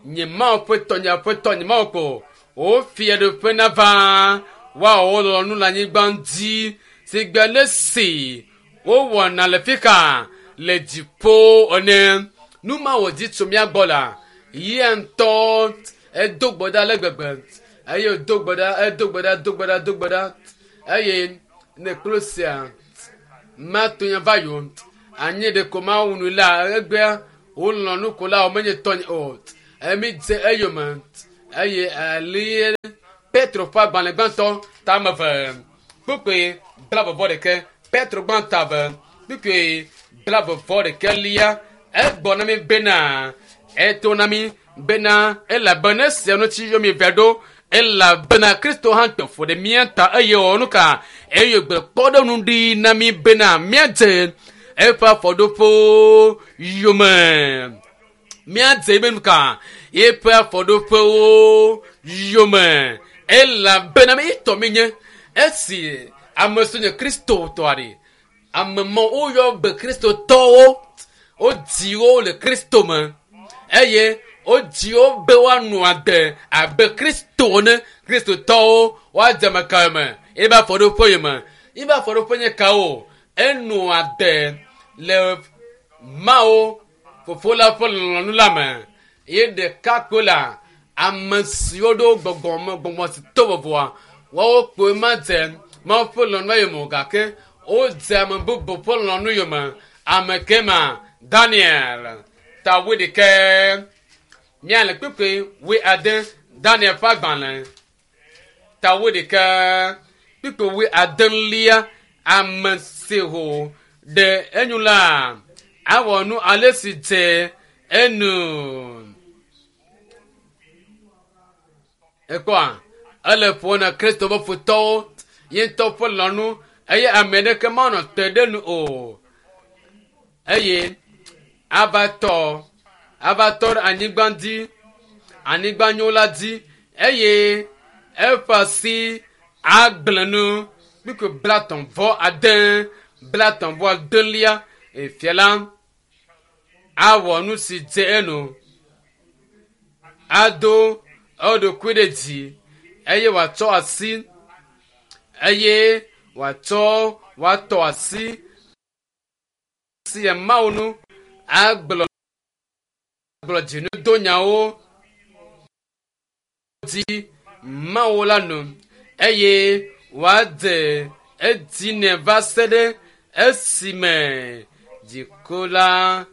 nye Mawu ƒe tɔ nye aƒetɔ nye Mawu ko wo fiaɖuƒe nava woawɔ wo lɔlɔ̃nu le anyigba dzi si gbe le si wowɔna le fi ka le dziƒo ene. Nu ma wòdi tso mía gbɔ la yia ŋutɔ edo gbe ɖa ale gbegbe eye wòdo gbe ɖa edo gbe ɖa do gbe ɖa do gbe ɖa eye ne kplu sia Mato nya va yi o. Anyi ɖeko mawu nu la egbea wolɔ̃ nukola wo menye tɔnye o. Emi dze eyome eye ali Petro ƒe agbalẽ gbãtɔ tame ve kpukpui blaeve-vɔ-ɖekɛ. Petro gbãtɔ eve kpukpui blaeve-vɔ-ɖekɛ lia egbɔ na mi bena eto na mi bena elabena esia ŋuti yɔ mi vɛ ɖo elabena Kristo hã kpe fu ɖe mía ta eye wòwɔ nu ka eye gbe kpɔɖeŋu ɖi na mi bena míadze eƒe afɔɖoƒewo yome. Míadze ebe nu ka eƒe afɔɖoƒewo yome elabena mi tɔ mi nye esi ame si nye Kristo tɔa ɖe ame mɔ woyɔ be Kristotɔwo wodzi wo le Kristo me eye wodzi wo be woanɔ agbe abe Kristo ene. Kristotɔwo woadze ame ka me ebe afɔɖoƒe yome ebe afɔɖoƒe nye kawo enɔ agbe le Mawu fofo la ƒe lɔlɔ̃nu la me ye ɖeka koe la ame siwo ɖo gbɔgbɔme gbɔgbɔ si to vovoa woawo kpoe ma dze Mawu ƒe lɔlɔ̃nu yome o gake wodze ame bubu ƒe lɔlɔ̃nu yome. Ame ke ma Daniel ta wuiɖekɛ míale kpukpui wuiade Daniel ƒe agbalẽ ta wuiɖekɛ kpukpui wuiadelia ame si ho ɖe enu la awɔ nu ale si dze enu. Ekpɔa ele ƒo na Kristo ƒe futɔwo ye ŋutɔ ƒe lɔlɔ̃nu eye ame aɖeke manɔ te ɖe nu o. Eye ava tɔ ava tɔ ɖe anyigba dzi anyigba nyo la dzi eye eƒe asi agblẽ nu kpukpui blatɔ̃ vɔ ade blatɔ̃ vɔ adelia efia la awɔ nu si dze enu ado eɖokui ɖe dzi eye wòatsɔ asi eye wòatsɔ wòatɔ asi si Mawu nu agblɔ gblɔ dzinudonyawo dzi Mawu la nu eye wòadze edzi nɛ va se ɖe esime dziku la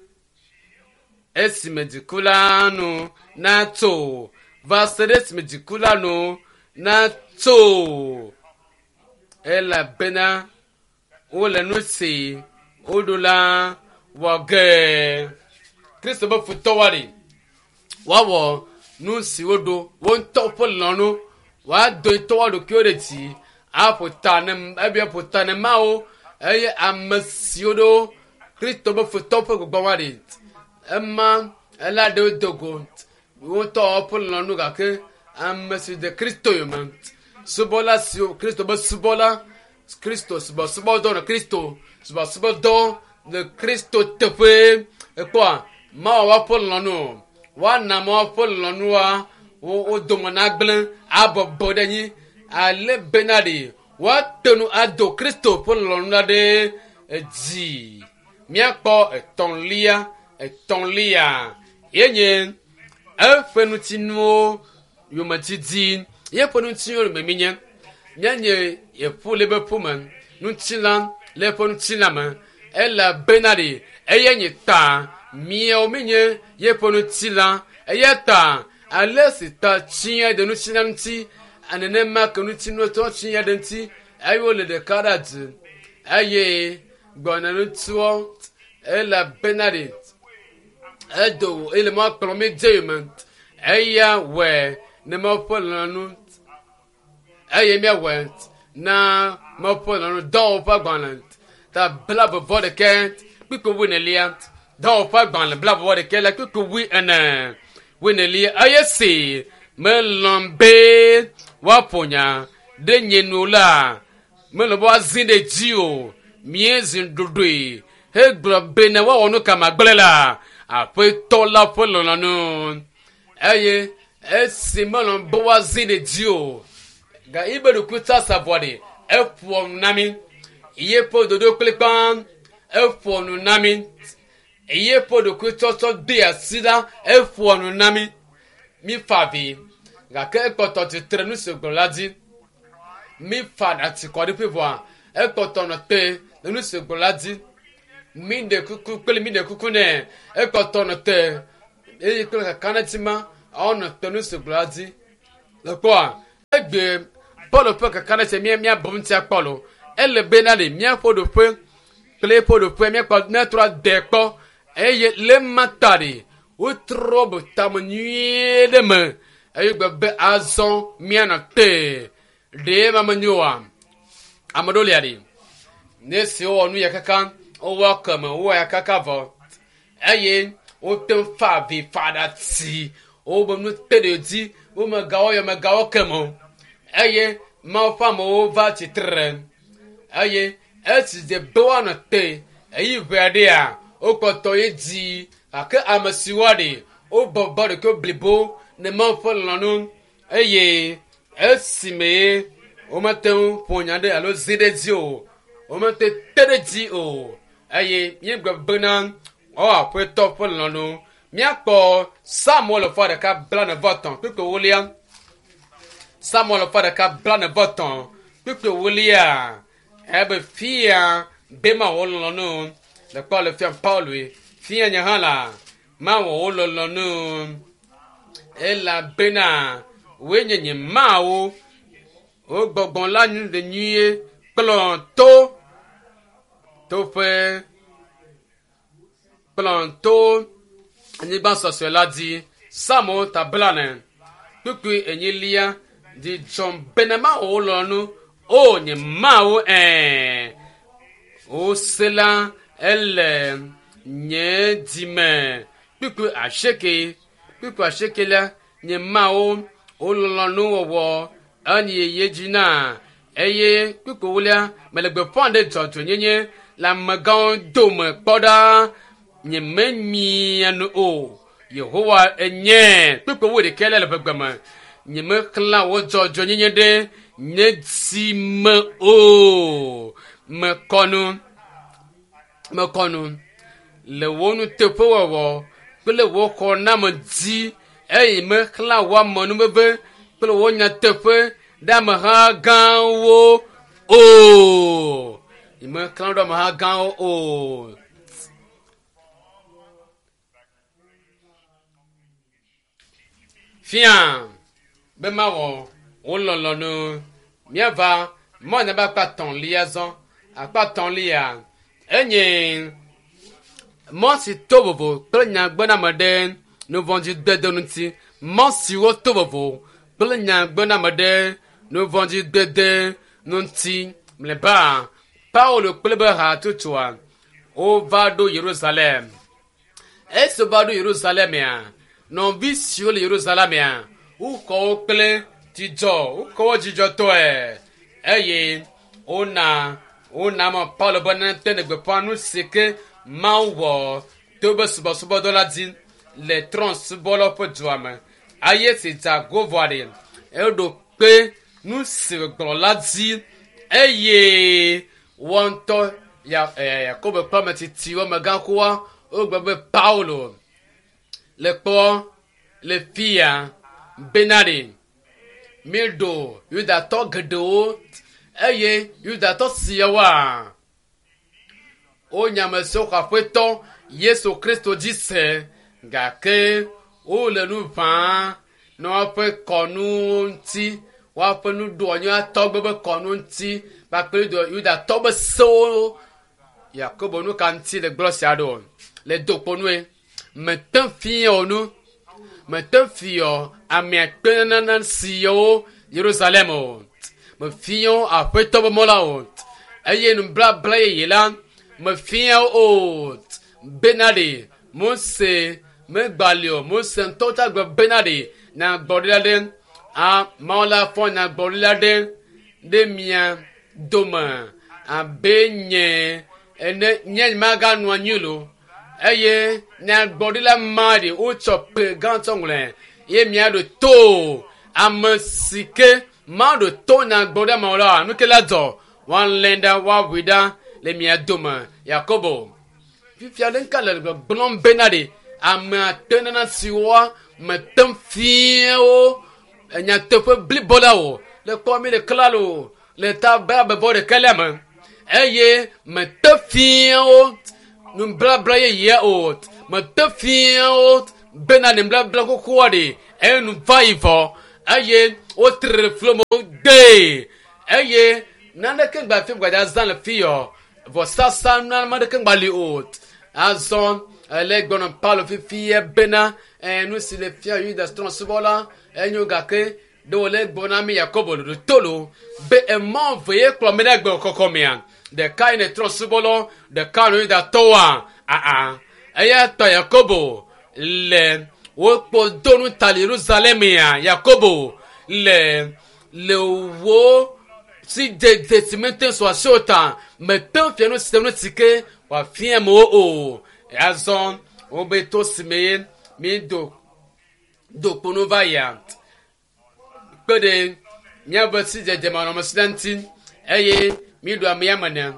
esime dziku la nu natso va se ɖe esime dziku la nu natso elabena wole nu si woɖo la wɔ ge. Kristo ƒe futɔwoa ɖi woawɔ nu si woɖo wo ŋutɔ ƒe lɔlɔ̃nu woado ŋutɔ wo ɖokuiwo ɖe dzi aƒo ta ne ebe aƒo ta ne Mawu eye ame siwo ɖo Kristo ƒe futɔwo ƒe gbɔgbɔ wa ɖi ema ela ɖewo do go wo ŋutɔ ƒe lɔlɔ̃nu gake ame si de Kristo yome subɔla siwo Kristo ƒe subɔla Kristo subɔsubɔdɔ le Kristo subɔsubɔdɔ le Kristo teƒe ekpɔa Mawu ƒe lɔlɔ̃nu woana Mawu ƒe lɔlɔ̃nua wo dome nagblẽ abɔbɔ ɖe anyi ale bena ɖi woate ŋu ado Kristo ƒe lɔlɔ̃nu la ɖe edzi. Míakpɔ etɔ̃lia etɔ̃lia ye nye eƒe ŋutinuwo yometiti yeƒe ŋutinuwo yome míenye. Míanye eƒu le eƒe ƒume ŋutilã le eƒe ŋutilã me elabena ɖi eye nye ta míawo míenye yeƒe ŋutilã eya ta ale si ta tsiã ɖe ŋutilã ŋuti nenema ke ŋutinuwo tɔ tsiã ɖe ŋuti eye wole ɖeka ɖe dzi eye gbɔna ŋutiwo elabena ɖi edo ele mɔ kplɔ mi dze yome eya wɔe ne Mawu ƒe lɔlɔ̃nu eye míawɔe na Mawu ƒe lɔlɔ̃nu dɔwɔƒe agbalẽ ta blaeve-vɔ-ɖekɛ kpukpui wuienelia dɔwɔƒe agbalẽ blaeve-vɔ-ɖekɛ la kpukpui wuiene wuienelia eye si melɔ̃ be woaƒo nya ɖe nye nu la melɔ̃ be woazi ɖe dzi o míezi ɖoɖoe hegblɔ be ne woawɔ nu ka magblẽ la aƒetɔ la ƒe lɔlɔ̃nu eye esi melɔ̃ be woazi ɖe dzi o ga ibe ɖokui tsasa vɔ ɖe eƒoa nu na mi yeƒe dodo kplikpa eƒoa nu na mi yeƒe ɖokui tsɔtsɔ de asi la eƒoa nu na mi mi fa vi gake ekpɔtɔ tsitre nu si gblɔ la dzi mi fa atikɔ ɖe ƒe vɔa Ekpɔtɔ nɔ te le nu si gblɔ la dzi. Mi ɖe kuku kple mi ɖe kuku nɛ. Ekpɔtɔ nɔ te eye kple kakaɖedzi ma ewɔnɔ te nu si gblɔ la dzi. Le kpɔa egbe Paulo ƒe kakaɖedzi mía míabu ŋuti akpɔ lo. Ele be na ɖe míaƒe ɖoƒe kple eƒe ɖoƒe míakpɔ míatrɔ ade kpɔ eye le ma ta ɖe wotrɔ be tame nyuie ɖe me eye gbe be azɔ míanɔ te ɖe ma menyo oa ame ɖewo lia ɖi ne si wowɔ nu ya kaka wowɔ keme wowɔ ya kaka vɔ eye wote ŋu fa avi fa ɖati wobe nu te ɖe dzi womegawɔ ya megawɔ keme o eye Mawu ƒe amewo va tsitre eye esi dze be woanɔ te eyi ʋe aɖea wokpɔtɔ ye dzi gake ame siwo ɖe wobɔbɔ ɖekɛ blibo ne Mawu ƒe lɔlɔ̃nu eye esime womete ŋu ƒo nya ɖe alo zi ɖe dzi o womete te ɖe dzi o eye míegblɔ bena woawɔ aƒetɔ ƒe lɔlɔ̃nu míakpɔ Samuel ƒe ɖeka 43 kpukpui ewolia Samuel ƒe ɖeka 43 kpukpui ewolia ebe fia be mawɔ lɔlɔ̃nu le kpɔ le fia Paulo fia nye hã la mawɔ wo lɔlɔ̃nu elabena woe nye nye Mawu wo gbɔgbɔ la nu le nyuie kplɔ to toƒe kplɔ to anyigba sɔsɔe la dzi Psalmo ta 40 kpukpui enyilia dzidzɔ bena mawɔ wo lɔlɔ̃nu o nye Mawu ɛɛ wose la ele nye dzime kpukpui asieke kpukpui asieke la nye Mawu wo lɔlɔ̃nu wɔwɔ enyi yeye dzi na eye kpukpui ewolia mele gbeƒã ɖe dzɔdzɔenyenye le amegãwo dome kpɔ ɖa nye memia nu o Yehowa enye kpukpui ewo ɖekɛ le le ƒe gbe me nye mexlã wo dzɔdzɔenyenye ɖe nye dzi me o mekɔ nu mekɔ nu le wo nuteƒewɔwɔ kple wo xɔname dzi eye mexlã wo amenuveve kple wo nyateƒe ɖe ameha gãwo o mexlã ɖe ameha gãwo o. Fia be mawɔ wo lɔlɔ̃nu míava mɔnya be akpa tɔ̃lia zɔ akpa tɔ̃lia enye mɔ si to vovo kple nyagbename ɖe nuvɔ̃dzidede ŋuti mɔ siwo to vovo kple nyagbename ɖe nuvɔ̃dzidede ŋuti mlɔeba Paulo kple be hatsotsoa wova ɖo Yerusalem. Esi wova ɖo Yerusalemea, nɔvi siwo le Yerusalemea, woxɔ wo kple dzidzɔ, woxɔ wo dzidzɔtɔe eye wona wona me Paulo be nete ne gbeƒã nu si ke Mawu wɔ to be subɔsubɔdɔ la dzi le trɔ̃subɔlawo ƒe dua me. Eye si dze ago vɔa ɖe, eɖo kpe nu si wògblɔ la dzi eye wɔa ŋutɔ ya Yakobo kple ame tsitsiwo amegãxoa wogblɔ be Paulo le kpɔ le fia bena ɖe míeɖo Yudatɔ geɖewo eye Yudatɔ siawoa wonye ame siwo xɔ aƒetɔ Yesu Kristo dzi se gake wole nu ʋãa ne woaƒe kɔnuwo ŋuti woaƒe nuɖoanyi tɔgbe be kɔnu ŋuti kpakple Yudatɔ be sewo Yakobo nu ka ŋuti le gblɔ sia ɖo le dokponue mete fia wo nu mete fia ame akpe nana siawo Yerusalem o mefia wo aƒetɔ be mɔ la o eye nublabla yeye la mefia wo o bena ɖe Mose megbali o Mose ŋutɔ tsa gbe bena ɖe nyagblɔɖila ɖe Mawu la fɔ nyagblɔɖila ɖe ɖe mia dome abe nye ene nye maganɔ anyi lo eye nyagblɔɖila ma ɖe wotsɔ pe gãtɔ ŋlɔe ye miaɖo to ame si ke maɖo to nyagblɔɖila ma la nu ke la dzɔ woalé ɖa woaʋui ɖa le mia dome Yakobo fifia ɖe ŋka le gbɔgblɔm bena ɖe ame ate nana siwoa mete ŋu fia wo nyateƒe blibo la o le kpɔ mi le klalo le ta be abebɔ ɖeka le me. Eye mete fia wo nublabla yeyea o. Mete fia wo bena nublabla xoxoa ɖe enu va yi vɔ eye wotre flo me gbee eye naneke gba fi gbadza zã le fi yɔ vɔsasa nane ɖeke gba li o. Azɔ ele gbɔnɔ Paulo fifia bena nu si le fia Yuda trɔ̃subɔla enyo gake ɖe wòle gblɔ na mi Yakobo ɖoɖo tolo be emɔ ve ye kplɔ mi ɖe gbe kɔkɔ mea ɖeka yi ne trɔ̃subɔlawo ɖeka ne Yudatɔwoa aa eya ta Yakobo le wokpɔ do nu ta le Yerusalem ya Yakobo le le wo si dzedze si mete sɔ asi o ta mete fia nu sia nu si ke wòafia amewo o. Azɔ wobe to si me ye mi do do kponu va yia kpe ɖe míaƒe sidzedze manɔamesi la ŋuti eye míɖu ame ya me ne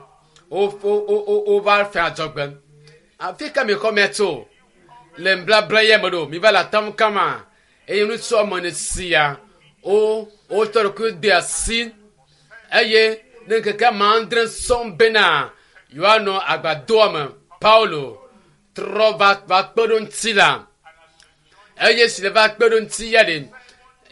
wova fia adzɔgbe. Afi ka mi xɔ mia tso le nblabla ya me ɖo mi va le atam kama eye ŋutsu ame ene sia wo wotsɔ ɖokui de asi eye ne ŋkeke ame adre sɔŋ bena yewoanɔ agbadoa me Paulo trɔ va va kpe ɖo ŋuti la eye si le va kpe ɖo ŋuti ya ɖe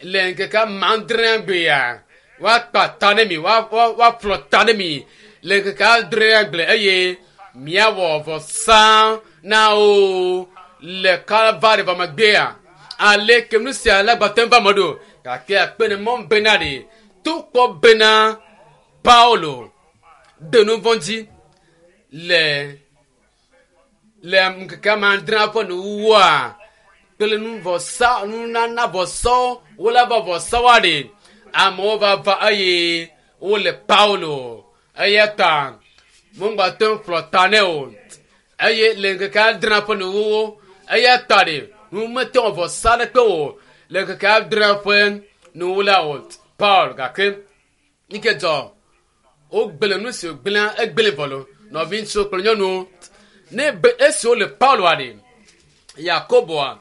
le ŋkeke ame adrea gbea woakpa ta ne mi woaƒlɔ ta ne mi le ŋkeke adrea gble eye miawɔ vɔsa na wo le Kalvari vɔ megbea ale ke nu sia la gbate va me ɖo gake akpe ne mɔ bena ɖe to kpɔ bena Paulo de nu vɔ̃ dzi le le ŋkeke ame adrea ƒe nuwuwua kple nuvɔsa nunana vɔsawo wole va vɔsawoa ɖe amewo va va eye wole Paulo eya ta megbate ŋu ƒlɔ ta nɛ o eye le ŋkeke adrea ƒe nuwuwu eya ta ɖe nu mete wɔ vɔsa aɖeke o le ŋkeke adrea ƒe nuwu la o Paul gake yi ke dzɔ wogblẽ nu si wògblẽa egblẽ vɔ lo nɔvi ŋutsuwo kple nyɔnuwo ne be esi wole Pauloa ɖe Yakoboa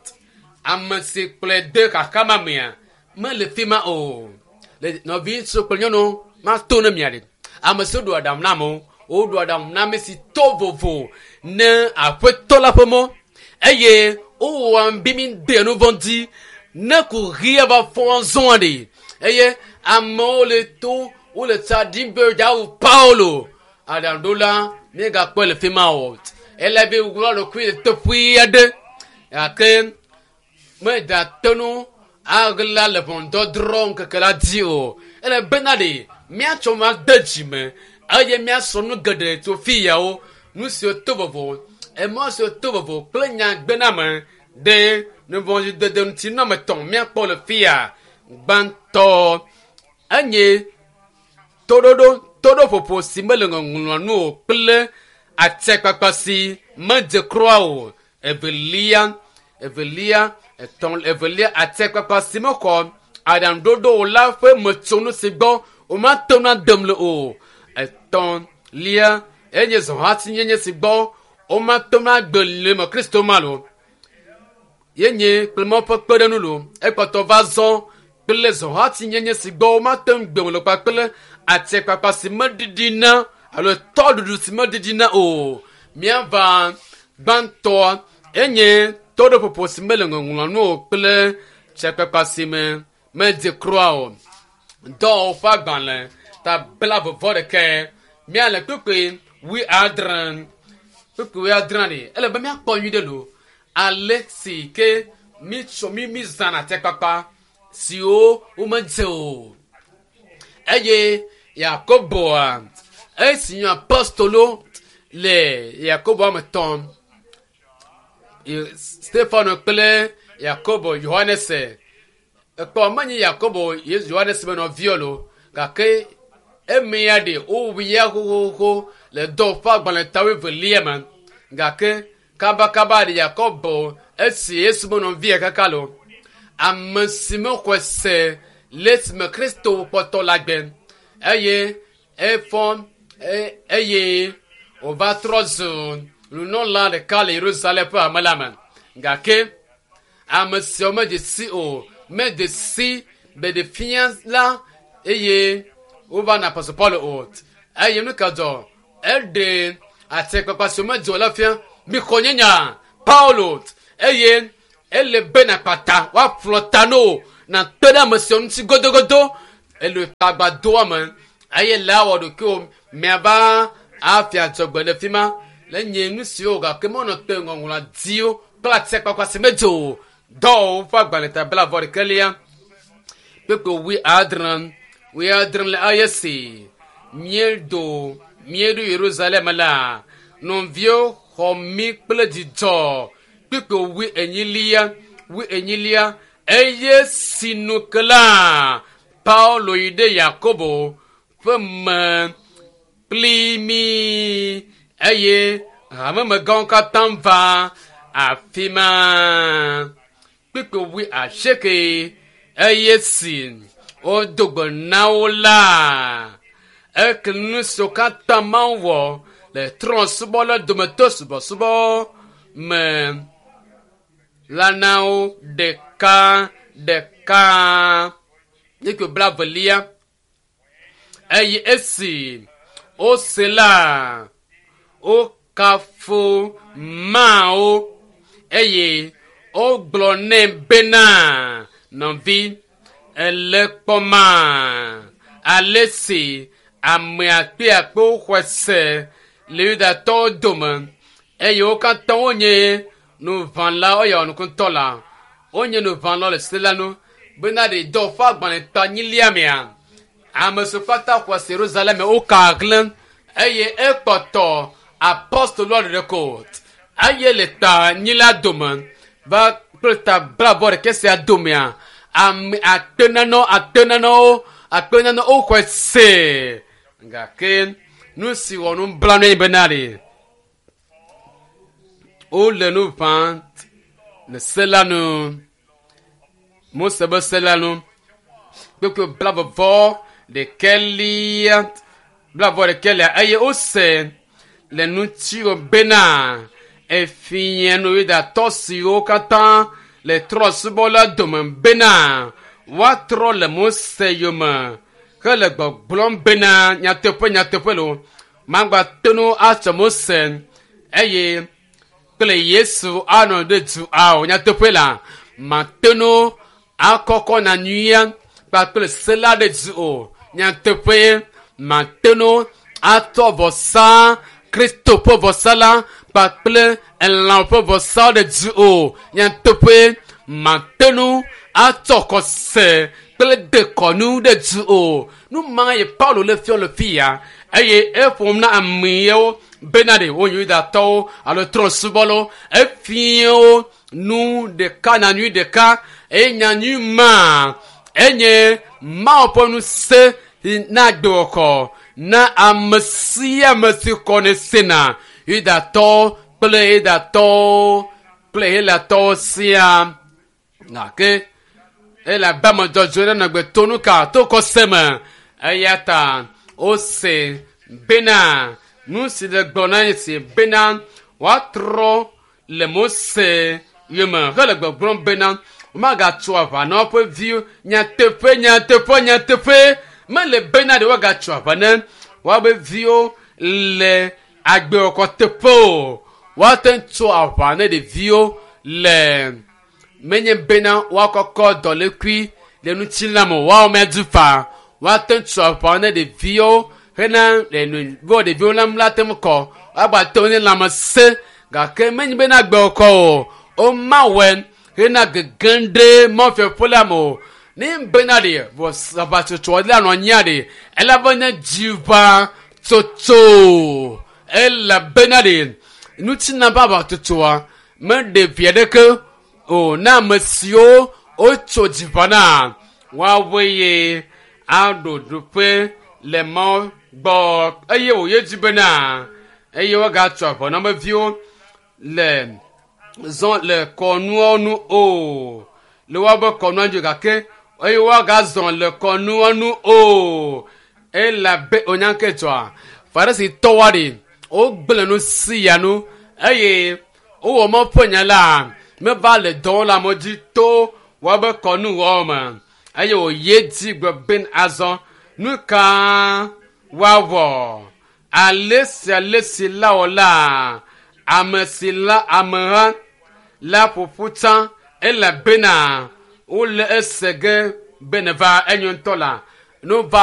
ame si kplɔe de xaxa mea mele fi ma o le nɔvi ŋutsuwo kple nyɔnuwo mato ne mia ɖe ame siwo ɖo aɖaŋu na amewo woɖo aɖaŋu na ame si to vovo ne aƒetɔ la ƒe mɔ eye wowɔa bi mi de nu vɔ̃ dzi ne kuxia va fɔ zɔa ɖe eye amewo le to wole tsa ɖim be yewoawu Paulo aɖaŋuɖola míegakpɔe le fi ma o ele be wòwlɔ ɖokui le teƒe aɖe gake meda nu aɣla le ʋɔnudɔdrɔ̃ ŋkeke la dzi o ele bena ɖe míatsɔ ma de dzi me eye míasrɔ̃ nu geɖe tso fi yawo nu siwo to vovo emɔ siwo to vovo kple nyagbename ɖe nuvɔ̃dzidede ŋuti nɔme tɔ̃ míakpɔ le fi ya gbãtɔ enye toɖoɖo toɖoƒoƒo si mele ŋɔŋlɔa nu o kple atikpakpa si medze kura o evelia evelia etɔ̃ evelia atikpakpa si mexɔ aɖaŋuɖoɖo o la ƒe metsonu si gbɔ womate ŋu adem le o etɔ̃lia enye zɔhatinyenye si gbɔ womate ŋu agbe le me Kristo ma lo yenye kple mɔ ƒe kpeɖeŋu lo ekpɔtɔ va zɔ kple zɔhatinyenye si gbɔ womate ŋu gbe le kpakple atikpakpa si meɖiɖina alo tɔɖuɖu si meɖiɖina o míava gbãtɔa enye toɖoƒoƒo si mele ŋɔŋlɔ nu o kple tsekpakpa si me medze kura o dɔwɔwɔ ƒe agbalẽ ta bla vɔvɔ ɖeke míale kpekpe wui adre kpekpe wui adre ɖe ele be míakpɔ nyui ɖe lo ale si ke mítsɔ mí mí zãna atikpakpa siwo womedze o eye Yakoboa esi nye apostolo le Yakobo ame tɔ̃ Stefano kple Yakobo Yohanes ekpɔ menye Yakobo Yesu Yohanes be nɔviwo lo gake emea ɖe wowu ya xoxoxo le dɔ ƒe agbalẽ tawo evelia me gake kabakaba ɖe Yakobo esi Yesu be nɔvia kaka lo ame si mexɔe se le esime Kristo kpɔtɔ le agbe eye efɔ eye wòva trɔ zu nunɔla ɖeka le Yerusalem ƒe hame la me gake ame siawo medze si o medze si be fia la eye wova na Apostle Paulo o eye nu ka dzɔ Eɖe atikpakpa si womedzo la fia. Mixɔ nye nya, Paulo, eye ele be nakpata woaƒlɔ ta no nakpe ɖe ame siawo ŋuti godogodo. Ele tagbadoa me eye le awɔ ɖokuiwò miava afia dzɔgbe le fi ma le nye nu siwo gake menɔ te ŋɔŋlɔa diwo kple atikpakpa si medzo o. Dɔwɔwɔ ƒe agbalẽ ta 31 kpekpe 70 le eye si míedo míeɖo Yerusalem la, nɔviwo xɔ mí kple dzidzɔ. Kpekpe 40 eye sinu ke la, Paulo yi ɖe Yakobo ƒe me kpli mí eye hamemegãwo katã va afi ma. Kpekpe 80 eye si wodo gbe na wo la, eke nu siwo katã Mawu wɔ le trɔ̃subɔla dometɔ subɔsubɔ me la na wo ɖeka ɖeka. Kpekpe 20 eye esi wose la, wokafu Mawu eye wogblɔ nɛ bena, nɔvi, ele kpɔma ale si ame akpeakpewo xɔe se le Yudatɔwo dome eye wo katã wonye nuʋãlawo eye wɔnukutɔ la wonye nuʋãlawo le se la nu bena ɖe dɔ ƒe agbalẽ ta nyilia mea ame siwo katã xɔ se Yerusalem woka hlẽ eye ekpɔtɔ apostoloa ɖeɖe ko eye le ta nyila dome va kple ta 71 sia domea ame akpe nanewo akpe nanewo woxɔe se gake nu si wɔ nublanui bena ɖe wole nu ʋãm le se la nu Mose be se la nu kpekpe 41 eye wose le ŋutiwò bena efia nu Yudatɔ siwo katã le trɔ̃subɔla dome bena woatrɔ le Mose yome hele gbɔgblɔm bena nyateƒe nyateƒe lo magbate ŋu atsɔ Mose eye kple Yesu anɔ ɖe du ao nyateƒe la mate ŋu akɔkɔ nyanyuia kpakple se la ɖe du o nyateƒe mate ŋu atɔ vɔsa Kristo ƒe vɔsa la kpakple elã ƒe vɔsa ɖe du o nyateƒe mate ŋu atɔ xɔse kple dekɔnu ɖe du o. Nu ma ye Paulo le fiɔ le fi ya eye eƒom na amewo bena ɖe wonye Yudatɔwo alo trɔ̃subɔlawo efia nu ɖeka nyanyui ɖeka eye nyanyui ma enye Mawu ƒe ŋusẽ na agbewɔxɔ na ame sia ame si xɔnɛ sena Yudatɔwo kple Yudatɔwo kple Helatɔwo siaa. Gake elabe ame dzɔdzɔe ɖe nɔ gbe to nu ka to xɔse me eya ta wose bena nu si le gblɔ na ye si bena woatrɔ le Mose yome hele gbɔgblɔm bena womagatso aʋa na woƒe viwo nyateƒe nyateƒe nyateƒe mele bena ɖe woagatso aʋa na woaƒe viwo le agbewɔkɔ teƒe o. Woate ŋu tso aʋa na ɖeviwo le menye bena woakɔkɔ dɔlékui le ŋutilã me o woawo meadu fa woate ŋu tso aʋa na ɖeviwo hena bo ɖeviwo la la te ŋu kɔ woagbate ŋu ne lãmesẽ gake menye bena agbewɔkɔ o womawɔe hena gege ɖe mɔfiaƒe la me o. Ne bena ɖe aʋatsotso la nɔ anyia ɖe elabe nye dziʋa tsotso elabena ɖe ŋutina ƒe aʋatsotsoa meɖe vi aɖeke o na ame siwo wotso dziʋa na woawoe ye aɖo ɖoƒe le Mawu gbɔ eye wòye dzi bena eye woagatso aʋa na ame viwo le zɔ le kɔnuawo nu o le woaƒe kɔnua dzi gake eye woagazɔ le kɔnua nu o elabe onyanke dzɔa Farisitɔwoa ɖe wogblẽ nu sia nu eye wowɔ Mawu ƒe nya la meva le dɔ wɔm le amewo dzi to woaƒe kɔnuwɔwɔ me eye wòye dzi gblɔ be azɔ nu ka woawɔ Ale sia ale si la wɔ la, ame si la ameha la ƒoƒu tsã elabena wole ese ge be neva enyo ŋutɔ la. Nu va.